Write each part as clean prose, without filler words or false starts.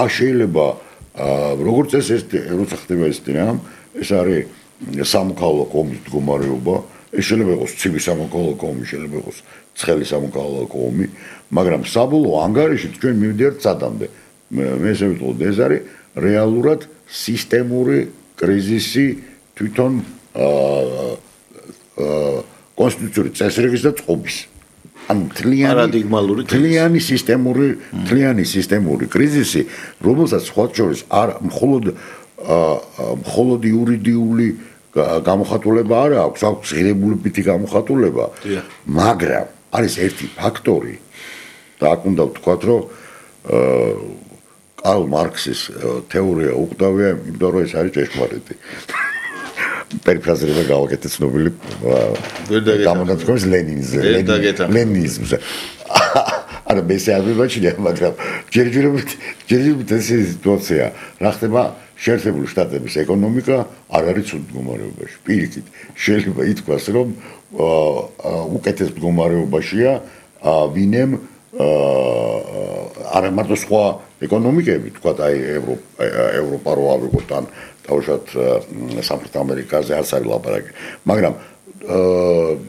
შეიძლება როგორც ეს როცა ხდება ეს ეს არის სამოქალაქო ომის მდგომარეობა, ეს შეიძლება იყოს ცივი სამოქალაქო ომი, შეიძლება იყოს ცხელი სამოქალაქო ომი, მაგრამ საბოლოო ანგარიშით ჩვენ მივდივართ სადამდე. მე ესე ვიტყოდი, ეს არის რეალურად სისტემური კრიზისი თვითონ კონსტიტუციური წესრიგის და წყობის. ან თლიანი სისტემური კრიზისი, რომელსაც სხვა შორის არ მხოლოდ იურიდიული გამოხატულება არ აქვს, აქვს ღირებულებითი გამოხატულება, მაგრამ არის ერთი ფაქტორი და აქ უნდა ვთქვათ, რომ კარლ მარქსის თეორია უყდავია, იმიტომ რომ ეს არის ჭეშმარიტი. პერიფრაზირება გავაკეთე ცნობილი გამონათქვამის ლენინიზმზე. არა, მე ესე არ მივაჩნია, მაგრამ ჯერჯერობით ეს სიტუაცია, რა ხდება შეერთებული შტატების ეკონომიკა არ არის ცუდ მდგომარეობაში. პირიქით, შეიძლება ითქვას, რომ უკეთეს მდგომარეობაშია ვინემ არა მარტო სხვა ეკონომიკები, თქვათ აი ევროპა რო ავიღოთ ან თავშად სამხრეთ ამერიკაზე არც არის ლაპარაკი, მაგრამ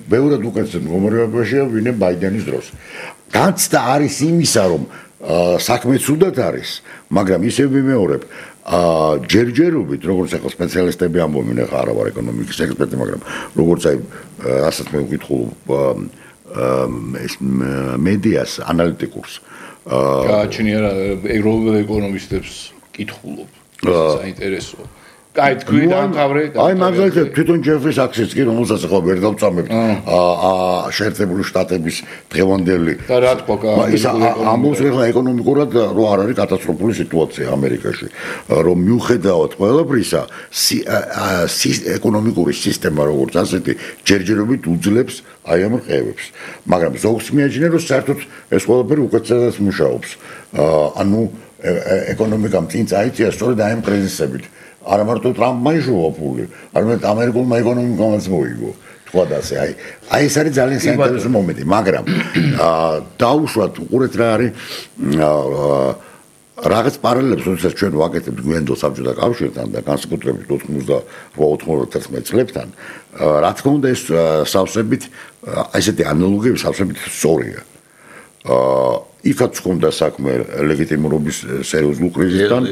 ბევრად უკეთეს მდგომარეობაშია ვინმე ბაიდენის დროს. განცდა არის იმისა, რომ საქმე ცუდად არის, მაგრამ ისევ ვიმეორებ, ჯერჯერობით, როგორც ახლა სპეციალისტები ამბობენ, ახლა არა ვარ ეკონომიკის ექსპერტი, მაგრამ როგორც აი რასაც მე ვკითხულობ ეს მედიას ანალიტიკურს გააჩნია ევროპელ ეკონომისტებს კითხულობ საინტერესოა კაი თქვი დაამთავრე აი მაგალითად თვითონ ჯეფრი საქსიც კი რომელსაც ახლა ვერ დავწამებთ შეერთებული შტატების დღევანდელი და რა თქვა ის ამბობს ახლა ეკონომიკურად რომ არ არის კატასტროფული სიტუაცია ამერიკაში რომ მიუხედავად ყველაფრისა ეკონომიკური სისტემა როგორც ასეთი ჯერჯერობით უძლებს აი ამ რყევებს მაგრამ ზოგს მიაჩნია რომ საერთოდ ეს ყველაფერი უკეთესად მუშაობს ანუ ეკონომიკამ წინ წაიწია სწორედ აი ამ კრიზისებით არა მარტო ტრამპმა იშოვა ფული, არამედ ამერიკულმა ეკონომიკამაც მოიგო. თქვა და ასე, აი ეს არის ძალიან საინტერესო მომენტი, მაგრამ დაუშვათ უყურეთ რა არის რაღაც პარალელებს, როდესაც ჩვენ ვაკეთებთ გვიანდელ საბჭოთა კავშირთან და განსაკუთრებით 88-91 წლებთან, რა თქმა უნდა ეს სავსებით ესეთი ანალოგიები სავსებით სწორია. იქაც ჰქონდა საქმე ლეგიტიმურობის სერიოზულ კრიზისთან.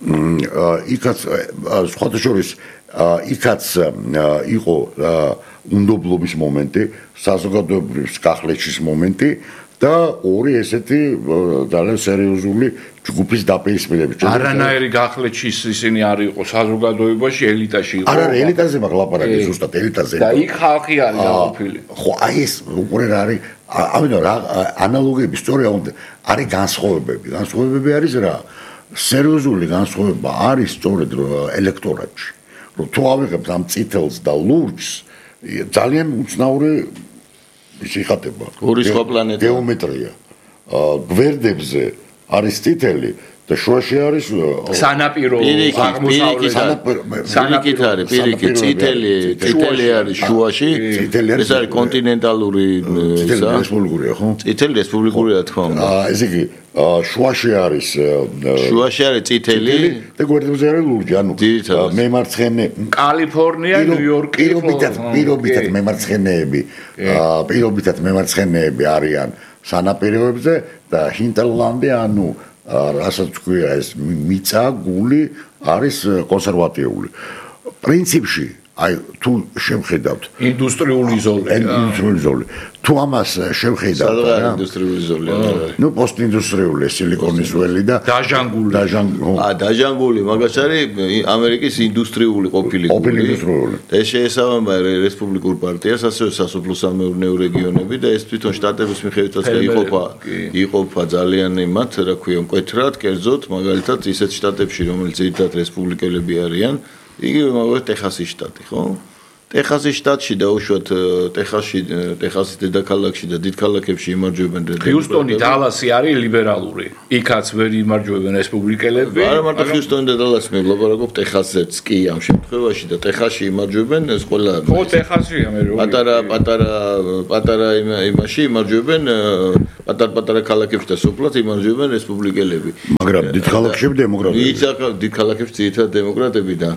იქაც სხვათა შორის იქაც იყო უნდობლობის მომენტი, საზოგადოებრივი გახლეჩის მომენტი და ორი ესეთი ძალიან სერიოზული ჯგუფის დაპირისპირება. არანაირი გახლეჩის ისინი არ იყო საზოგადოებაში, ელიტაში იყო. არა, ელიტაზე მაგ ლაპარაკი ზუსტად ელიტაზე. და იქ ხალხი არის დაყოფილი. ხო, აი ეს უკვე რა არის, ამიტომ რა ანალოგიები სწორია უნდა არის განსხვავებები. განსხვავებები არის რა? სერიოზული განსხვავება არის სწორედ ელექტორატში. რომ თუ ავიღებთ ამ წითელს და ლურჯს, ძალიან უცნაური შეხატება. ორი სხვა პლანეტა. გეომეტრია. გვერდებზე არის წითელი და შუაში არის სანაპირო აღმოსავლეთ სანაპირო არის პირიქით წითელი არის შუაში ეს არის კონტინენტალური წითელი რესპუბლიკურია ხო? წითელი რესპუბლიკურია რა თქმა უნდა. ესე იგი შუაში არის წითელი და გვერდებზე არის ლურჯი, ანუ მემარცხენე კალიფორნია, ნიუ-იორკი, პირობითად მემარცხენეები არიან სანაპიროებზე და ჰინტერლანდი, ანუ რასაც თქვია ეს მიწა, გული არის კონსერვატიული. პრინციპში აი თუ შევხედავთ ინდუსტრიული ზოლი. თუ ამას შევხედავთ რა ინდუსტრიული ზოლი არის? ნუ პოსტინდუსტრიული სილიკონის ველი და დაჟანგული მაგას არის ამერიკის ინდუსტრიული ყოფილი ინდუსტრიული. ეს შეესაბამება რესპუბლიკურ პარტიას, ასევე სასოფლო-სამეურნეო რეგიონები და ეს თვითონ შტატების მიხედვითაც იყოფა ძალიან იმათ, რა ქვია, მკვეთრად, კერძოდ, მაგალითად ისეთ შტატებში, რომელიც ერთად რესპუბლიკელები არიან, იგივე მაგალითად ტეხასის შტატი, ხო? ტეხასის შტატში და უშუალოდ ტეხასის დედაქალაქში და დიდ ქალაქებში იმარჯვებენ ჰიუსტონი და დალასი არის ლიბერალური. იქაც ვერ იმარჯვებენ რესპუბლიკელები. არა მარტო ჰიუსტონი და დალასი მე ვლაპარაკობ ტეხასზეც კი ამ შემთხვევაში და ტეხასში იმარჯვებენ ეს ყველა ხო ტეხასია მე რო პატარა იმაში იმარჯვებენ პატარა ქალაქებში და სოფლად იმარჯვებენ რესპუბლიკელები. მაგრამ დიდ ქალაქებში დემოკრატები. დიდ ქალაქებში ძირითადად დემოკრატები და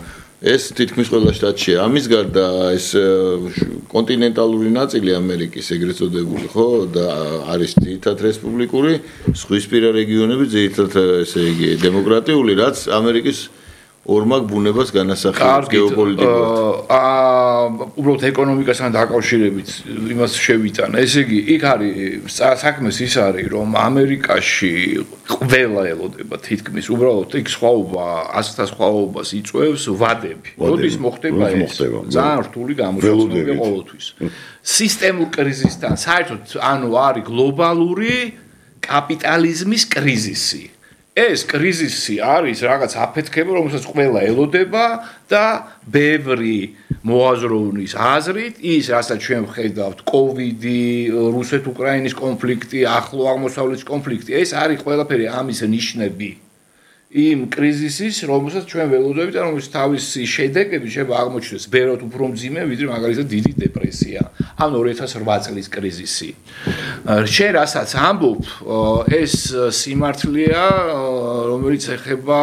ეს თითქმის ყველა შტატშია. ამის გარდა ეს კონტინენტალური ნაწილი ამერიკის ეგრეთ წოდებული, ხო, და არის ძირითადად რესპუბლიკური, ზღვისპირა რეგიონები ძირითადად ესე იგი დემოკრატიული, რაც ამერიკის ორმაგ ბუნებას განასახიერებს გეოპოლიტიკურად. უბრალოდ ეკონომიკასთან დაკავშირებით იმას შევიტან. ესე იგი, იქ არის საქმეს ის არის, რომ ამერიკაში ყველა ელოდება თითქმის უბრალოდ იქ სხვაობა, ასთა სხვაობას იწვევს ვადები. როდის მოხდება ეს? ძალიან რთული გამოჩვენებია ყოველთვის. სისტემურ კრიზისთან საერთოდ არის გლობალური კაპიტალიზმის კრიზისი. ეს კრიზისი არის რაღაც აფეთქება, რომელსაც ყველა ელოდება და ბევრი მოაზროვნის აზრით, ის რასაც ჩვენ ვხედავთ, კოვიდი, რუსეთ-უკრაინის კონფლიქტი, ახლო აღმოსავლეთის კონფლიქტი, ეს არის ყველაფერი ამის ნიშნები. იმ კრიზისის, რომელსაც ჩვენ ველოდებით, რომელიც თავისი შედეგები შეიძლება აღმოჩნდეს ბევრად უფრო მძიმე, ვიდრე მაგალითად დიდი დეპრესია, ან 2008 წლის კრიზისი. შენ რასაც ამბობ, ეს სიმართლეა, რომელიც ეხება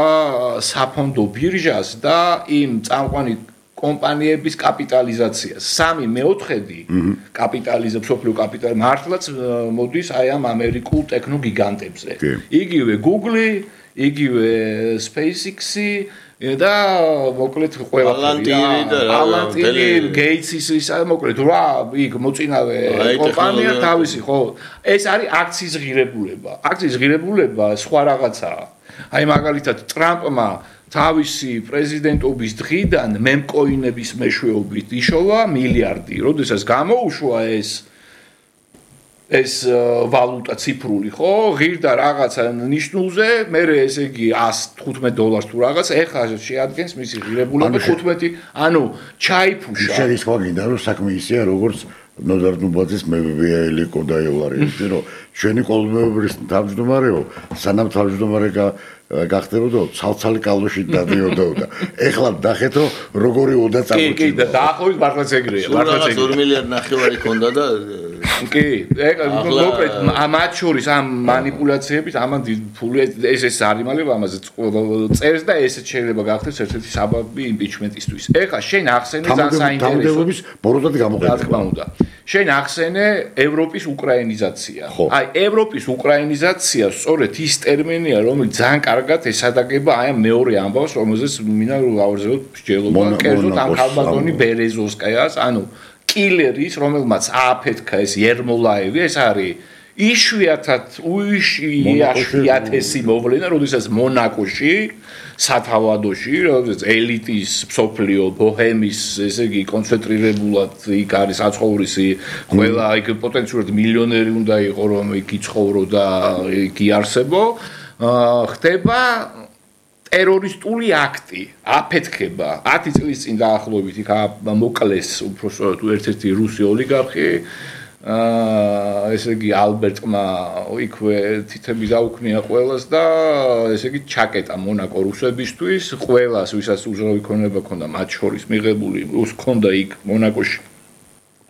საფონდო ბირჟას და იმ წამყვანი კომპანიების კაპიტალიზაციას. 3/4 კაპიტალიზმს, სოფლიო კაპიტალი მართლაც მოდის აი ამ ამერიკულ ტექნოგიგანტებზე. იგივე Google, იგივე SpaceX-ი და მოკლედ ყველაფერი ალანტინი გეიტსის ისა მოკლედ რა იქ მოწინავე კომპანია თავისი ხო ეს არის აქციის ღირებულება აქციის ღირებულება სხვა რაღაცაა აი მაგალითად ტრამპმა თავისი პრეზიდენტობის დღიდან მემკოინების მეშვეობით იშოვა მილიარდი როდესაც გამოუშვა ეს ვალუტა ციფრული ხო ღირდა რაღაცა ნიშნულზე მე ესე იგი $115 თუ რაღაც ეხლა შეადგენს მისი ღირებულება 15 ანუ ჩაიფუშა შედის ხო გინდა რომ საქმე ისეა როგორც ნოდარ ნუბაძის მებია კოდაევარი რომ ჩვენი კოლმეურის თავმჯდომარეო სანამ თავმჯდომარე გახდებოდა ცალცალი კალოში დადიოდა და ეხლა დახეთო როგორი უნდა წამოჭიდო კი და დაახლოებით მართლაც ეგრეა მართლაც 2 მილიარდი ნახევარი ქონდა და კი მოკლედ მათ შორის ამ манипуляციებით ამან ფული ეს არიმალება ამაზე წერს და ესეც შეიძლება გახდეს ერთ-ერთი საბაბი იმპიჩმენტისთვის ეხლა შენ ახსენე ძალიან საინტერესო ბოროტად გამოყენება რა თქმა უნდა შენ ახსენე ევროპის უკრაინიზაცია აი ევროპის უკრაინიზაცია სწორედ ის ტერმინია რომელიც ძალიან კარგად ესადაგება აი ამ მეორე ამბავს რომელზეც მინდა გავარძელოთ მსჯელობა კერძოდ ამ ხალბატონი ბერეზოვსკაიას ანუ კილერის რომელმაც ააფეთქა ეს ერმოლაევი ეს არის იშვიათესი მოვლენა როდესაც მონაკოში სათავადოში როდესაც ელიტის სოფლიო ბოჰემის ესე იგი კონცენტრირებულად იქ არის აცხოვრისი ყველა იქ პოტენციურად მილიონერი უნდა იყო რომ იქ იცხოვრო და იქ იარსებო ხდება ტერორისტული აქტი აფეთქება 10 წლის წინ დაახლოებით იქ მოკლეს უბრალოდ ერთ-ერთი რუსი ოლიგარქი ესე იგი ალბერტმა იქვე თითები დაუქნია ყველას და ესე იგი ჩაკეტა მონაკო რუსებისთვის ყველას ვისაც უზროვი ქონება ქონდა მათ შორის მიღებული რუს ქონდა იქ მონაკოში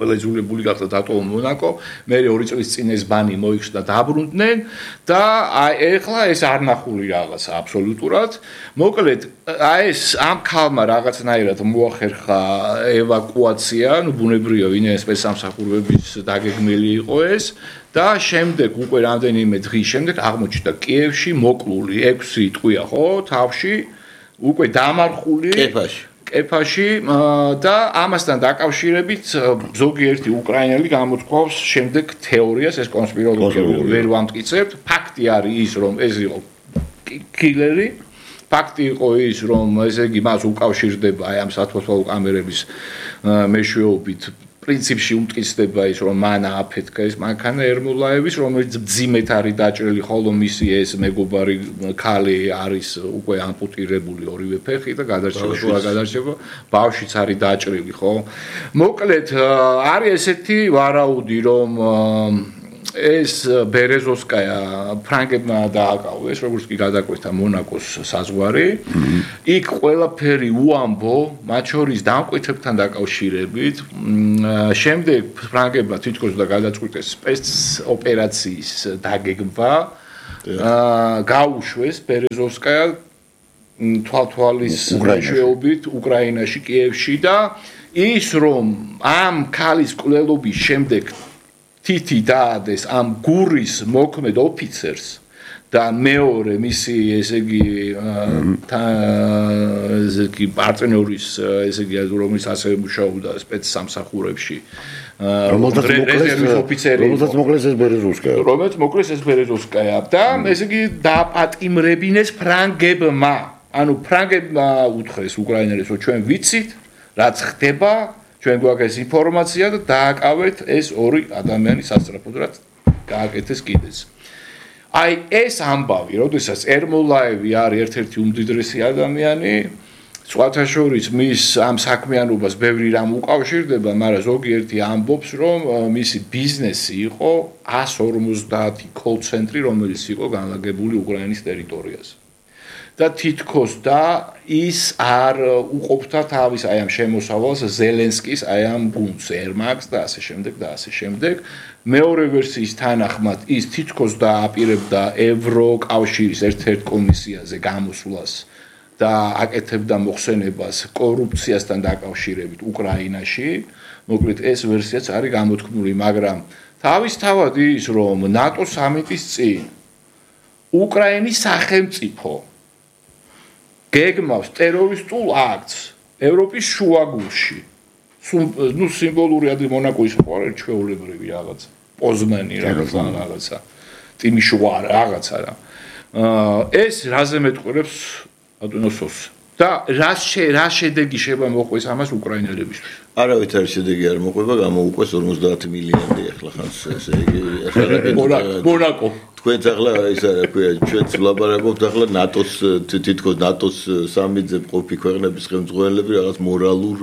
ყველა იძულებული გახდა დატოვა მონაკო მე 2 წლის წინ ეს ბანი მოიხსნა დაბრუნდნენ და აი ეხლა ეს არ ნახული რაღაცა აბსოლუტურად მოკლედ აი ეს ამ ქალმა რაღაცნაირად მოახერხა ევაკუაცია ნუ ბუნებრივია ვინმე სპეცსამსახურების დაგეგმილი იყო ეს და შემდეგ უკვე რამდენიმე დღის შემდეგ აღმოჩნდა კიევში მოკლული 6 ტყვია ხო თავში უკვე დამარხული კეფაში და ამასთან დაკავშირებით ზოგიერთი უკრაინელი გამოთქვავს შემდეგ თეორიას ეს კონსპიროლოგია ვერ ვამტკიცებთ ფაქტი არის ის რომ ეს იყო კილერი ფაქტი იყო ის რომ ესე იგი მას უკავშირდება აი ამ სათვალთვალო კამერების მეშვეობით პრინციპში უმტკიცდება ის რომ მან ააფეთქა ეს მანქანა ერმოლაევის რომელიც ძიმეთ არის დაჭრილი ხოლო მისი ეს მეგობარი ქალი არის უკვე ამპუტირებული ორივე ფეხი და გადარჩება თუ არ გადარჩება ბავშვიც არის დაჭრილი ხო მოკლედ არის ესეთი ვარაუდი რომ ეს ბერეზოვსკაია ფრანგებმა დააკავეს როგორც კი გადაკვეთა მონაკოს საზღვარი იქ ყველაფერი უამბო მათ შორის დამკვეთებთან დაკავშირებით შემდეგ ფრანგებმა თითქოს და გადაწყვიტეს სპეცოპერაციის დაგეგმვა გაუშვეს ბერეზოვსკაია თვალთვალის მეშვეობით უკრაინაში კიევში და ის რომ ამ ქალის კვლელობის შემდეგ თითი დაადეს ამ გურის მოქმედ ოფიცერს და მეორე მისი ესე იგი პარტნიორის ესე იგი რომელიც ასევე მუშაობდა სპეცსამსახურებში რომელსაც მოკლეს ეს ბერეზოვსკაია და ესე იგი დააპატიმრებინეს ფრანგებმა ანუ ფრანგებმა უთხრეს უკრაინელებს რომ ჩვენ ვიცით რაც ხდება ჩვენ გვაქვს ინფორმაცია და დააკავეთ ეს ორი ადამიანი სასწრაფოდ რაც გააკეთეს კიდეც. აი ეს ამბავი, როდესაც ერმოლაევი არის ერთ-ერთი უმდიდრესი ადამიანი, სხვათა შორის მის ამ საქმიანობას ბევრი რამ უკავშირდება, მაგრამ ზოგიერთი ამბობს, რომ მისი ბიზნესი იყო 150 კოლ-ცენტრი, რომელიც იყო განლაგებული უკრაინის ტერიტორიაზე. და თითქოს და ის არ უყოფდა თავის აი ამ შემოსავალს ზელენსკის აი ამ გუნდს ერმაკს და ასე შემდეგ და ასე შემდეგ მეორე ვერსიის თანახმად ის თითქოს და აპირებდა ევროკავშირის ერთ-ერთ კომისიაზე გამოსვლას და აკეთებდა მოხსენებას კორუფციასთან დაკავშირებით უკრაინაში მოკლედ ეს ვერსიაც არის გამოთქმული მაგრამ თავისთავად ის რომ ნატო სამიტის წინ უკრაინის სახელმწიფო გეგმავს ტერორისტულ აქტს ევროპის შუაგულში. ნუ სიმბოლური ადი მონაკოის ყوارე ჩვეულებრივი რაღაცა. პოზნანი რაღაცა. ტიმიშოა რაღაცა რა. ეს რაზე მეტყურებს ადონოსოს და რა შედეგი შევა მოყვეს ამას უკრაინელებისთვის. არავით არ შედეგი არ მოყვება, გამოუყვეს 50 მილიონი ახლა ხანს ესე იგი მონაკო თქვენც ახლა ის რა ქვია ჩვენც ვლაპარაკობთ ახლა ნატოს თითქოს ნატოს სამიძე ყოფი ქვეყნების ხელმძღვანელები რაღაც მორალურ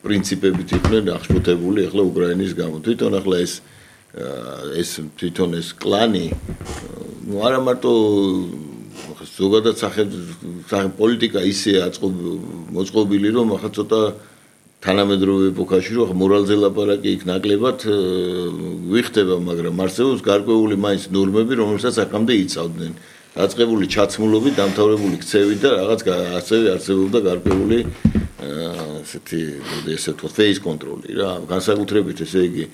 პრინციპებით იყვნენ აღშფოთებული ახლა უკრაინის გამო თვითონ ახლა ეს თვითონ ეს კლანი ნუ არა მარტო ზოგადად სახელმწიფო პოლიტიკა ისე მოწყობილი რომ ახლა ცოტა თანამედროვე ეპოქაში რომ მორალზე ლაპარაკი იქ ნაკლებად ვიხდება მაგრამ არსებობს გარკვეული მაინც ნორმები რომელსაც აქამდე იცავდნენ დაწყებული ჩაცმულობით დამთავრებული ქცევით და რაღაც ასევე არსებობდა გარკვეული ესე თუ face control-ი რა განსაკუთრებით ესე იგი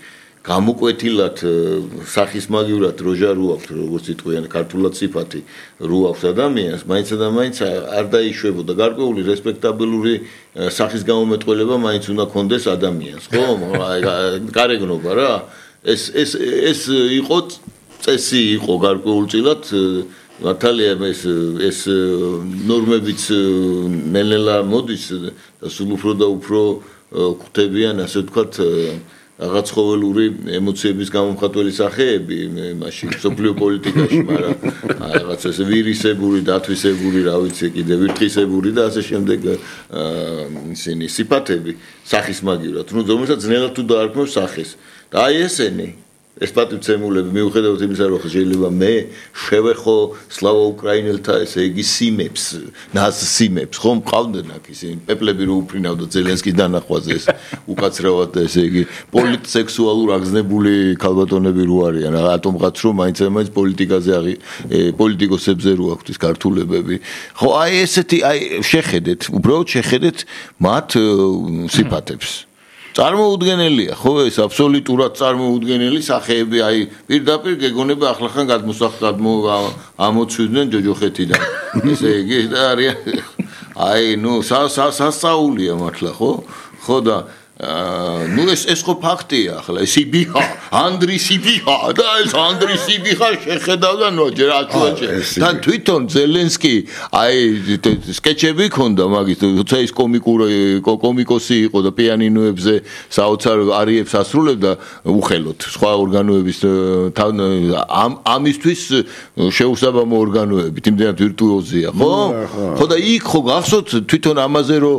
გამოკვეთილად სახისმაგივრად როჟა რო აქვს როგორც იტყვიან ქართულად სიფათი რო აქვს ადამიანს მაინც და მაინც არ დაიშვებოდა გარკვეული რესპექტაბელური სახის გამომეტყველება მაინც უნდა კონდეს ადამიანს ხო გარეგნობა რა ეს იყო წესი იყო გარკვეულწილად მართალია ეს ნორმებიც ნელ-ნელა მოდის და სულ უფრო და უფრო ხვდებიან ასე ვთქვათ რაღაც ხოველური ემოციების გამომხატველი სახეები მაშინ სოფლიო პოლიტიკაში, მაგრამ რაღაც ესე ვირისებური, დათვისებური, რა ვიცი, კიდე ვირთხისებური და ასე შემდეგ ისინი სიფათები სახისმაგივრად, ну, რომელსაც ძნელად თუ დაარქმევს სახეს. და აი ესენი ეს პატივცემულები მიუხედავად იმისა, რომ შეიძლება მე შევეხო სლავა უკრაინელთა ესე იგი სიმებს, ნაზსიმებს, ხომ მყავდნენ აქ ისინი პეპლები რო უფრინავდა ზელენსკის დანახვაზე ეს უკაცრავად და ესე იგი პოლიტსექსუალურ აგზნებული ქალბატონები რო არიან, ატომღაც რომ მაინც პოლიტიკაზე პოლიტიკოსებზე რო აქვთ ის ქართულებები. ხო, აი ესეთი აი შეხედეთ, უბრალოდ შეხედეთ მათ სიფათებს. წარმოუდგენელია, ხო, ეს აბსოლუტურად წარმოუდგენელი სახეები, აი, პირდაპირ გეგონება ახლახან ამოცვიდნენ ჯოჯოხეთიდან. ესე იგი და არიან აი, ნუ სასწაულია მართლა, ხო? ხო და ნუ ეს ხო ფაქტია ახლა ეს იბიხა ანდრი სიბიხა და ეს ანდრი სიბიხა შეხედავდა ნოჯერ აშუაჭე თან თვითონ ზელენსკი აი სკეჩები ქონდა მაგის თუცა ის კომიკოსი იყო და პიანინოებზე საოცარ არიებს ასრულებდა უხელოდ სხვა ორგანოების ამისთვის შეუსაბამო ორგანოებით იმდენად ვირტუოზია ხო და იქ ხო გახსოვთ თვითონ ამაზე რომ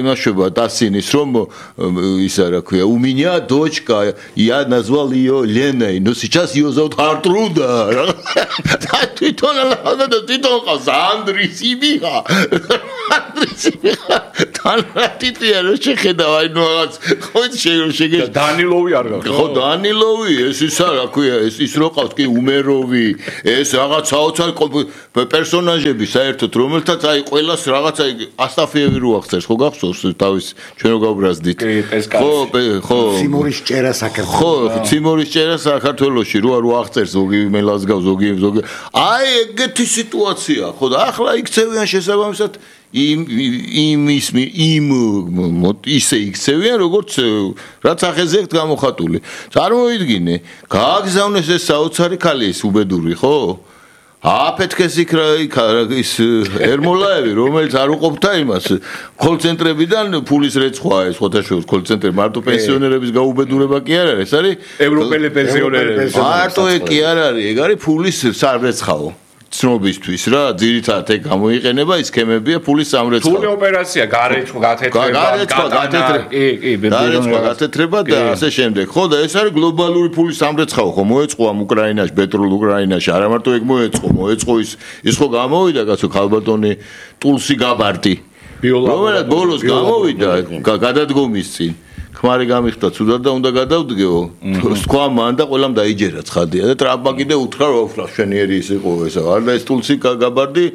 იმაშობა დასინის რომ Исара, у меня дочка, я назвал ее Леной, но сейчас ее зовут Артруда. Ты то Андрей Сибиха. Андрей Сибиха. Ты შეხედავ ну хочешь დანილოვი არ გახდა ხო დანილოვი ეს ისა რა ქვია ის რო ყავს კი უმეროვი ეს რაღაც საოცარ პერსონაჟები საერთოდ რომელთაც აი ყველას რაღაცა ასტაფიევი რო აღწერს ხო გახსოვს თავის ჩვენ რო გავბრაზდით ხო ციმორის ჭერა საქართველოს ხო ციმორის ჭერა საქართველოში რო აღწერს ზოგი მელას გავს ზოგი აი ეგეთი სიტუაცია ხო და ახლა იქცევიან შესაბამისად ისე იქცევიან როგორც რაც ახეზე გამოხატული წარმოვიდგინე გააგზავნეს ეს საოცარი ქალი ის უბედური ხო აფეთქეს იქ ის ერმოლაევი რომელიც არ უყოფდა იმას კოლცენტრებიდან ფულის რეცხვა ეს ხოთაშორის კოლცენტრი მარტო პენსიონერების გაუბედურება კი არ არის ეს არის ევროპელი პენსიონერები მარტო ეგ კი არ არის ეგ არის ფულის სამრეცხაო ცნობისთვის რა ძირითადად ეგ გამოიყენება ის სქემებია ფულის სამრეცხავ. ფული ოპერაცია გარეცხვა გათეთრება და ასე შემდეგ. ხო და ეს არის გლობალური ფულის სამრეცხავ ხო მოეწყო ამ უკრაინაში, პეტროლ უკრაინაში, არა მარტო ეგ მოეწყო ის ხო გამოვიდა კაცო ქალბატონი ტულსი გაბარტი. რომელიც ბოლოს გამოვიდა გადადგომის წინ. ხმარი გამიხდა ცუდად და უნდა გადავდგეო. თქვა მან და ყველამ დაიჯერა ცხადია და ტრამპმა კიდე უთხრა რომ შენიერი ის იყო ესა. არ და ეს ტულსი გაბარდი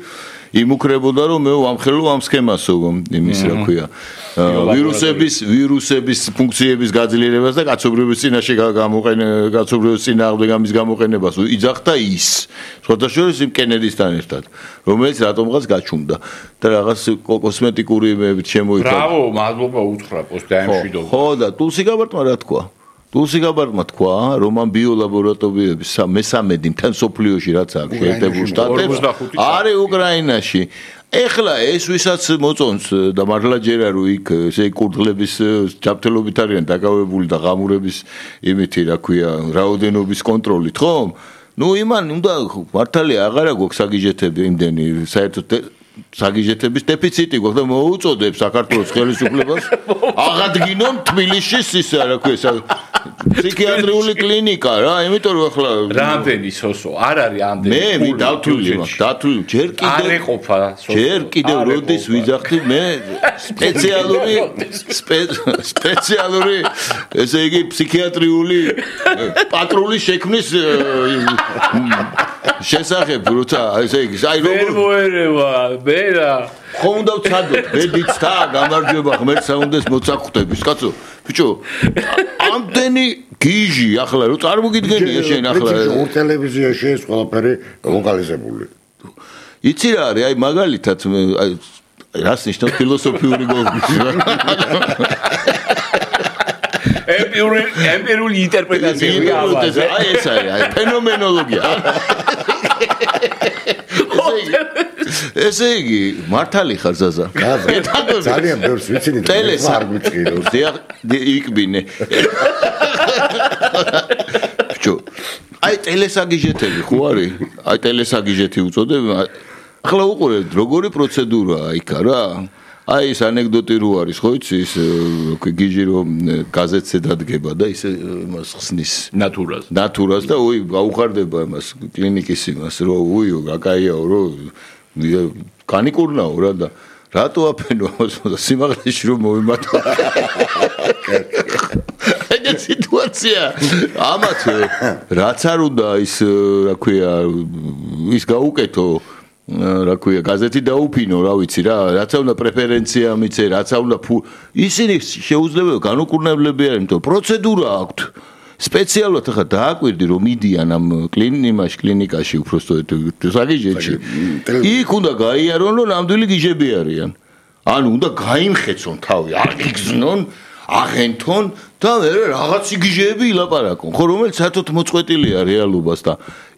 იმუქრებოდა რომ მე ვამხელო ამ სქემასო იმის რა ქვია. ვირუსების ფუნქციების გაძლიერებას და კაცობრიობის წინაშე კაცობრიობის წინააღმდეგ ამის გამოყენებას იძახდა ის. შეხოთაშორის იმ კენედისთან ერთად, რომელიც რატომღაც გაჩუმდა და რაღაც კოსმეტიკური იმებით შემოიჭრა. ბრავო, მადლობა უთხრა პოსტაიმშვიდობა. ხო და ტულსი გაბარტმა რა თქვა? ტულსი გაბარტმა თქვა, რომ ამ ბიოლაბორატორიების მე-13 მთელ სოფლიოში რაც აქვს შეერთებულ შტატებში არის უკრაინაში. ეხლა ეს ვისაც მოწონს და მართლა ჯერა რომ იქ ესე კურდღლების ჯანმრთელობით არიან დაკავებული და ღამურების იმითი რა ქვია რაოდენობის კონტროლით ხო? ნუ იმან უნდა მართალია აღარა გვაქვს საგიჟეთები იმდენი საერთოდ საგიჟეთების დეფიციტი გვაქვს და მოუწოდებს საქართველოს ხელისუფლებას აღადგინონ თბილისის ის რა ქვია ფსიქიატრიული კლინიკა რა იმიტომ რომ ახლა რამდენი სოსო არ არის ამდენი მე დავთვლი ჯერ კიდევ როდის ვიძახდი მე სპეციალური ესე იგი ფსიქიატრიული პატრულის შექმნის შესახებ როცა ესე იგი აი როგორ მოერევა მერა ხო უნდა ვცადოთ ბედიც და გამარჯვება ღმერთსა უნდეს მოცახვდების კაცო ბიჭო ამდენი გიჟი ახლა რო წარმოგიდგენია შენ ახლა ტელევიზიაში ეს ყველაფერი ლოკალიზებული იცი რა არის აი მაგალითად რას ნიშნავს ფილოსოფიური გოგის ემპირიული ინტერპრეტაცია აი ეს არის აი ფენომენოლოგია ესე იგი მართალი ხარ ზაზა ძალიან ბევრს ვიცინი არ გვიწყიროს იქბინე ბიჭო აი ტელესაგიჟეთები ხო არის აი ტელესაგიჟეთი უწოდებ ახლა უყურეთ როგორი პროცედურაა იქა რა აი ეს ანეკდოტი რო არის ხო იცი ის გიჟი რომ გაზეთზე დადგება და ისე იმას ხსნის ნატურას და უი გაუხარდება იმას კლინიკის იმას რო უიო გაკაიაო რო განიკურნაო რა და რატო აფენო ამას და სიმაღლეში რომ მოვიმატო ეგ სიტუაცია ამათ რაც არ უნდა ის რა ქვია ის გაუკეთო რა ქვია გაზეთი დაუფინო რა ვიცი რა რაც უნდა პრეფერენცია მიცე რაც უნდა ისინი შეუძლებელია განუკურნებლები არიან იმიტომ პროცედურა აქვთ სპეციალურად ახლა დააკვირდი რომ მიდიან ამ კლინიკაში უბრალოდ საგიჟეთში იქ უნდა გაიარონ რომ ნამდვილი გიჟები არიან ანუ უნდა გაიმხეცონ თავი, არ გიგზნონ, აღენთონ და მე რაღაც იგიჟეები ილაპარაკონ, ხო, რომელიც საერთოდ მოწყვეტილია რეალობას და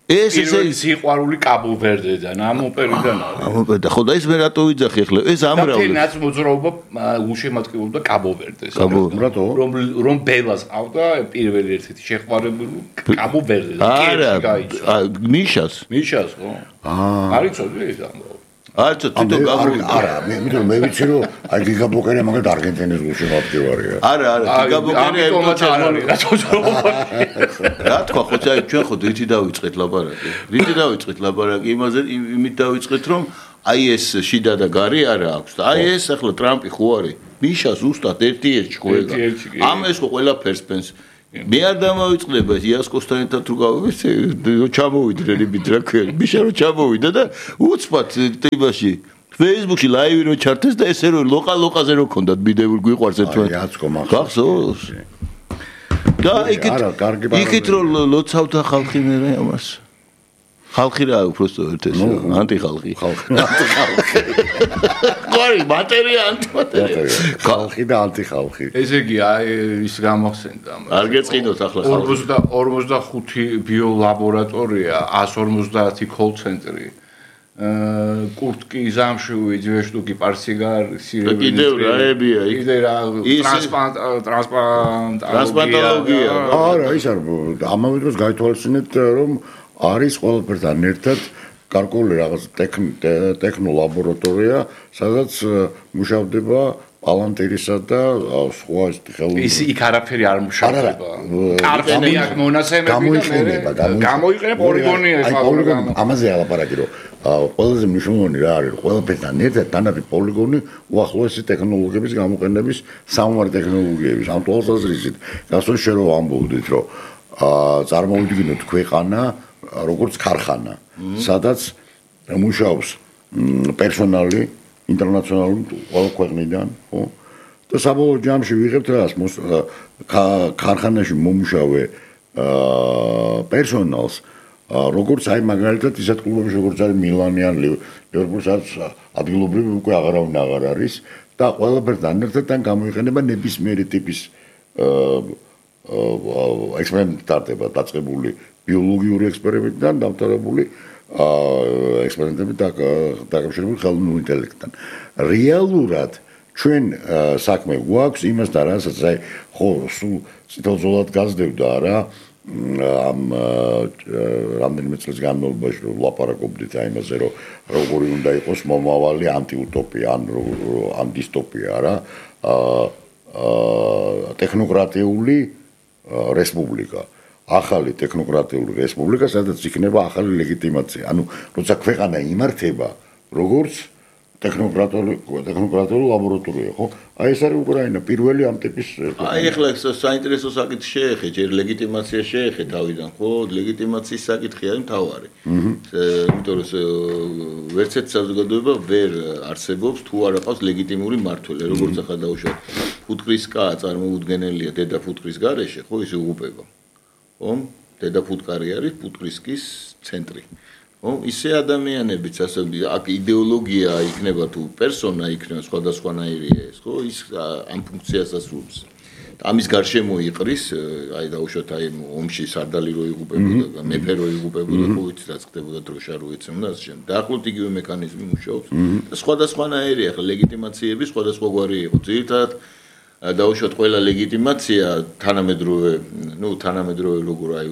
ეს ესე სიყვარული კაბო-ვერდედან, ამ ოპერიდან არის. ამ ოპერიდან, ხო და ეს მე რატო ვიძახი ახლა? ეს ამრავლებს. და მოძრაობა უშემატკივრობდა კაბო-ვერდეს. რომ ბელას ყავდა პირველი ერთ-ერთი შეყვარებული კაბო-ვერდე. არა, მიშას, ხო? არის წოდი ეს ამბავი. არცო თვითონ გამოვიდა. არა, მე ვიცი რომ აი გიგაბოკერია მაგალითად არგენტინის გულშემატკივარია. არა, გიგაბოკერია რა თქვა ხო ჩვენ ხო რითი დავიწყეთ ლაპარაკი? იმით დავიწყეთ რომ აი ეს შიდა და გარი არა აქვს და აი ეს ახლა ტრამპი ხო არის? მიშა ზუსტად ერთი ერთში ხო ეგა. ამას ხო ყველაფერს ფენს მე არ დამავიწყდება იასკოსთან ერთად თუ გავიგე ჩამოვიდრე რიბით რა ქვია მიშა რომ ჩამოვიდა და უცბად ტიპაში Facebook-ში ლაივი რო ჩართეს და ესე რო ლოყალოყაზე რო ქონდათ მიდებული გვიყვარს ერთმანეთს იაცკო მაგ გახსოვს და იქით რო ლოცავდა ხალხი მე ამას ხალხი რა უბრალოდ ერთეს ანტიხალხი ყარი მატერია ანტიმატერია ხალხი და ანტიხალხი ესე იგი აი ის გამახსენდა არ გეწყინოთ ახლა 45 ბიოლაბორატორია 150 კოლ-ცენტრი კურტკი ზამშუი ძვეშტუკი პარსიგარ სირები კიდევ რაებია იქ ტრანსპლანტოლოგია არა ის არ ამავე დროს გაითვალისწინეთ რომ არის ყველაფერთან ერთად გარკვეული რაღაც ტექნოლაბორატორია, სადაც მუშავდება პალანტირისა და სხვა ხელოვნების. ის იქ არაფერი არ მუშავდება. კარგია მონაცემები და გამოიყენება პოლიგონი ახლა. ამაზე ალაპარაკი რომ ყველაზე მნიშვნელოვანი რა არის, ყველაფერთან ერთად თანაბი პოლიგონი უახლოესი ტექნოლოგიების გამოყენების სამომარ ტექნოლოგიების. ამ თვალსაზრისით, გასულ შე რომ ამბობდით რომ წარმოვიდგინოთ ქვეყანა როგორც ქარხანა, სადაც მუშაობს პერსონალი ინტერნაციონალური ყველა ქვეყნიდან, ხო? და საბოლოო ჯამში ვიღებთ რას ქარხანაში მომუშავე პერსონალს, როგორც აი მაგალითად ისეთ კლუბებში როგორც არის მილანი ან ლივერპულს არის ადგილობრივი უკვე აღარავინ აღარ არის და ყველაფერთან ერთად გამოიყენება ნებისმიერი ტიპის ექსპერიმენტი ტარდება დაწყებული ბიოლოგიური ექსპერიმენტიდან დამთავრებული ექსპერიმენტები დაკავშირებული ხელოვნურ ინტელექტთან. რეალურად ჩვენ საქმე გვაქვს იმასთან, რასაც აი ხო სულ ციტოზოლად გაზრდებდა რა ამ რამდენიმე წელს განმავლობაში რომ ლაპარაკობდით აი იმაზე რომ როგორი უნდა იყოს მომავალი ანტიუტოპია ან დისტოპია რა ტექნოკრატიული რესპუბლიკა ახალი ტექნოკრატიული რესპუბლიკა, სადაც იქნება ახალი ლეგიტიმაცია. ანუ როცა ქვეყანა იმართება, როგორც ტექნოკრატიული ლაბორატორია, ხო? აი ეს არის უკრაინა, პირველი ამ ტიპის. აი ახლა საინტერესო საკითხი შეეხე, ჯერ ლეგიტიმაცია შეეხე თავიდან, ხო? ლეგიტიმაციის საკითხი არის მთავარი. იმიტომ რომ ვერცეთ საზოგადოება ვერ არსებობს თუ არ აქვს ლეგიტიმური მმართველი, როგორც ახლა დაუშვათ. ფუტკრის კა წარმოუდგენელია დედა ფუტკრის გარეშე, ხო, ის უღუპება. ხო? დედა ფუტკარი არის ფუტკრისკის ცენტრი. ხო? ისე ადამიანებიც ასე აქ იდეოლოგია იქნება თუ პერსონა იქნება სხვადასხვანაირია ეს, ხო? ის ამ ფუნქციას ასრულებს. ამის გარშემო იყრის, აი დაუშვათ აი ომში სარდალი რო იღუპებოდა, მეფე რო იღუპებოდა, ხო ვიცი რა ხდებოდა დროშა რო ეცემდა ასე შემდეგ. დაახლოებით იგივე მექანიზმი მუშაობს. და სხვადასხვანაირია, ხო, ლეგიტიმაციები სხვადასხვაგვარი იყო. ძირითადად დაუშვათ ყველა ლეგიტიმაცია თანამედროვე როგორ აი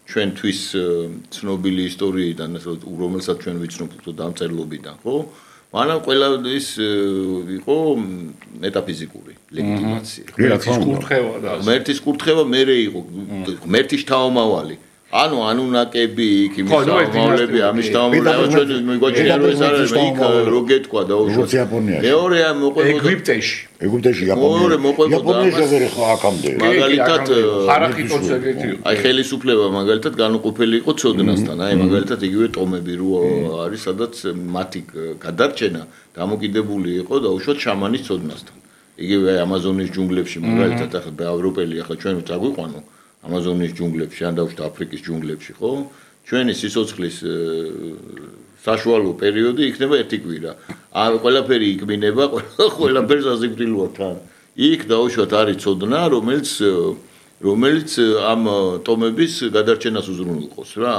ჩვენთვის ცნობილი ისტორიიდან რომელსაც ჩვენ ვიცნობთ დამწერლობიდან ხო მაგრამ ყველა ის იყო მეტაფიზიკური ლეგიტიმაცია ღმერთის კურთხევა მერე იყო ღმერთის თავმავალი ანუ ანუნაკები იქ იმის თავმავლები ამის თავმავლები ჩვენ მიგვაჩნია რომ ეს არის იქ რო გეთქვა დაუშვათ მეორე მოყვება ეგვიპტეში იაპონიაში ვერ ხა აქამდე მაგალითად ხარახიტოცეგეთი აი ხელისუფლება მაგალითად განუყოფელი იყო ცოდნასთან აი მაგალითად იგივე ტომები რო არის სადაც მათი გადარჩენა დამოკიდებული იყო დაუშვათ შამანის ცოდნასთან იგივე აი ამაზონის ჯუნგლებში მაგალითად ახლა ევროპელი ახლა ჩვენ წაგვიყვანო ამაზონის ჯუნგლებში ან დაუშვათ აფრიკის ჯუნგლებში ხო ჩვენი სიცოცხლის საშუალო პერიოდი იქნება ერთი კვირა ყველაფერი იკმინება, ყველაფერს ასიფრილოა თან. იქ დაუშვათ არის ცოდნა, რომელიც ამ ტომების გადარჩენას უზრუნველყოს რა.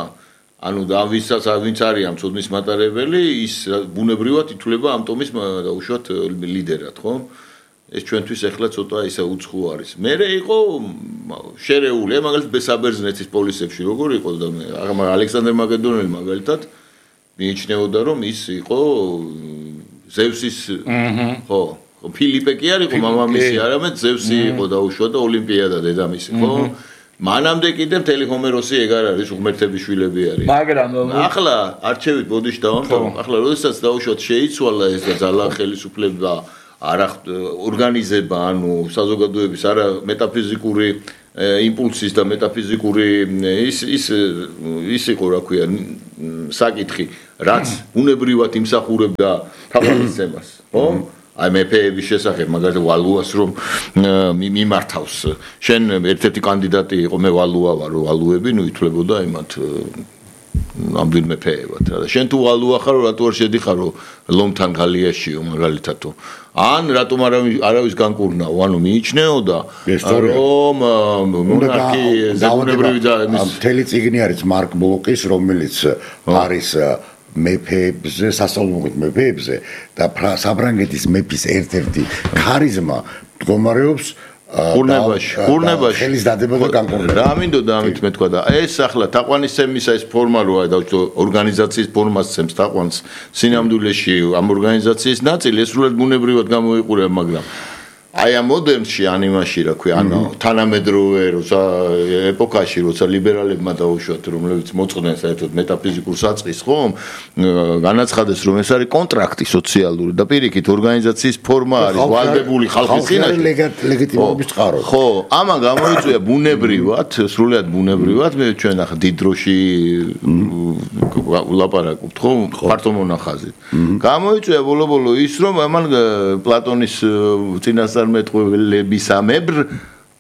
ანუ და ვისაც ვინც არის ამ ცოდნის მატარებელი, ის ბუნებრივად ითვლება ამ ტომის დაუშვათ ლიდერად, ხო? ეს ჩვენთვის ახლა ცოტა ისა უცხო არის. მე იყო შერეული, მაგალითად საბერძნეთის პოლისებში როგორ იყო და მე ალექსანდრე მაკედონელი მაგალითად მიიჩნეოდა რომ ის იყო ზევსის ხო ფილიპე კი არ იყო მამამისი, არამედ ზევსი იყო დაუშვა და ოლიმპიადა დედამისი, ხო? მანამდე კიდე მთელი ჰომეროსი ეგ არ არის, ღმერთების შვილები არის. მაგრამ ახლა არჩევით ბოდიში დავამთავრე. ახლა როდესაც დაუშვათ შეიცვალა ეს და ძალა ხელისუფლება არა ორგანიზება, ანუ საზოგადოების არა მეტაფიზიკური იმპულსის და მეტაფიზიკური ის იყო რა ქვია საკითხი, რაც უნებრივად იმსახურებდა თავისებას, ხო? აი მეფეების შესახებ მაგალითად ვალუას რომ მიმართავს. შენ ერთ-ერთი კანდიდატი იყო, მე ვალუა ვარ, ვალუები ნუ ითვლებოდა იმათ ამდენ მეფეებად რა. შენ თუ ვალუა ხარ, რატო არ შედიხარო ლომთან გალიაშიო მაგალითადო. ან რატომ არავის განკურნაო, ანუ მიიჩნეოდა რომ მონარქი ზებუნებრივი და მთელი წიგნი არის მარკ ბლოკის, რომელიც არის მეფეებზე, სასწავლებლად მეფეებზე და საფრანგეთის მეფის ერთ-ერთი ქარიზმა მდგომარეობს ხურნებაში ხელის დადება და განკურნება. რა მინდოდა ამით მე თქვა და ეს ახლა თაყვანისცემისა ეს ფორმა როა და ორგანიზაციის ფორმას ცემს თაყვანს სინამდვილეში ამ ორგანიზაციის ნაწილი ეს სრულად ბუნებრივად გამოიყურება, მაგრამ აი ამ მოდერნში ანიმაში რა ქვია, ანუ თანამედროვე როცა ეპოქაში როცა ლიბერალებმა დაუშვათ, რომლებიც მოწყდნენ საერთოდ მეტაფიზიკურ საწყის, ხო? განაცხადეს რომ ეს არის კონტრაქტი სოციალური და პირიქით ორგანიზაციის ფორმა არის ვალდებული ხალხის წინაშე. ლეგიტიმობის წყარო. ხო, ამან გამოიწვია ბუნებრივად, სრულად ბუნებრივად, მე ჩვენ ახლა დიდ დროში ვლაპარაკობთ, ხო? ფართო მონახაზით. გამოიწვია ბოლო-ბოლო ის რომ ამან პლატონის წინასწარმეტყველებისამებრ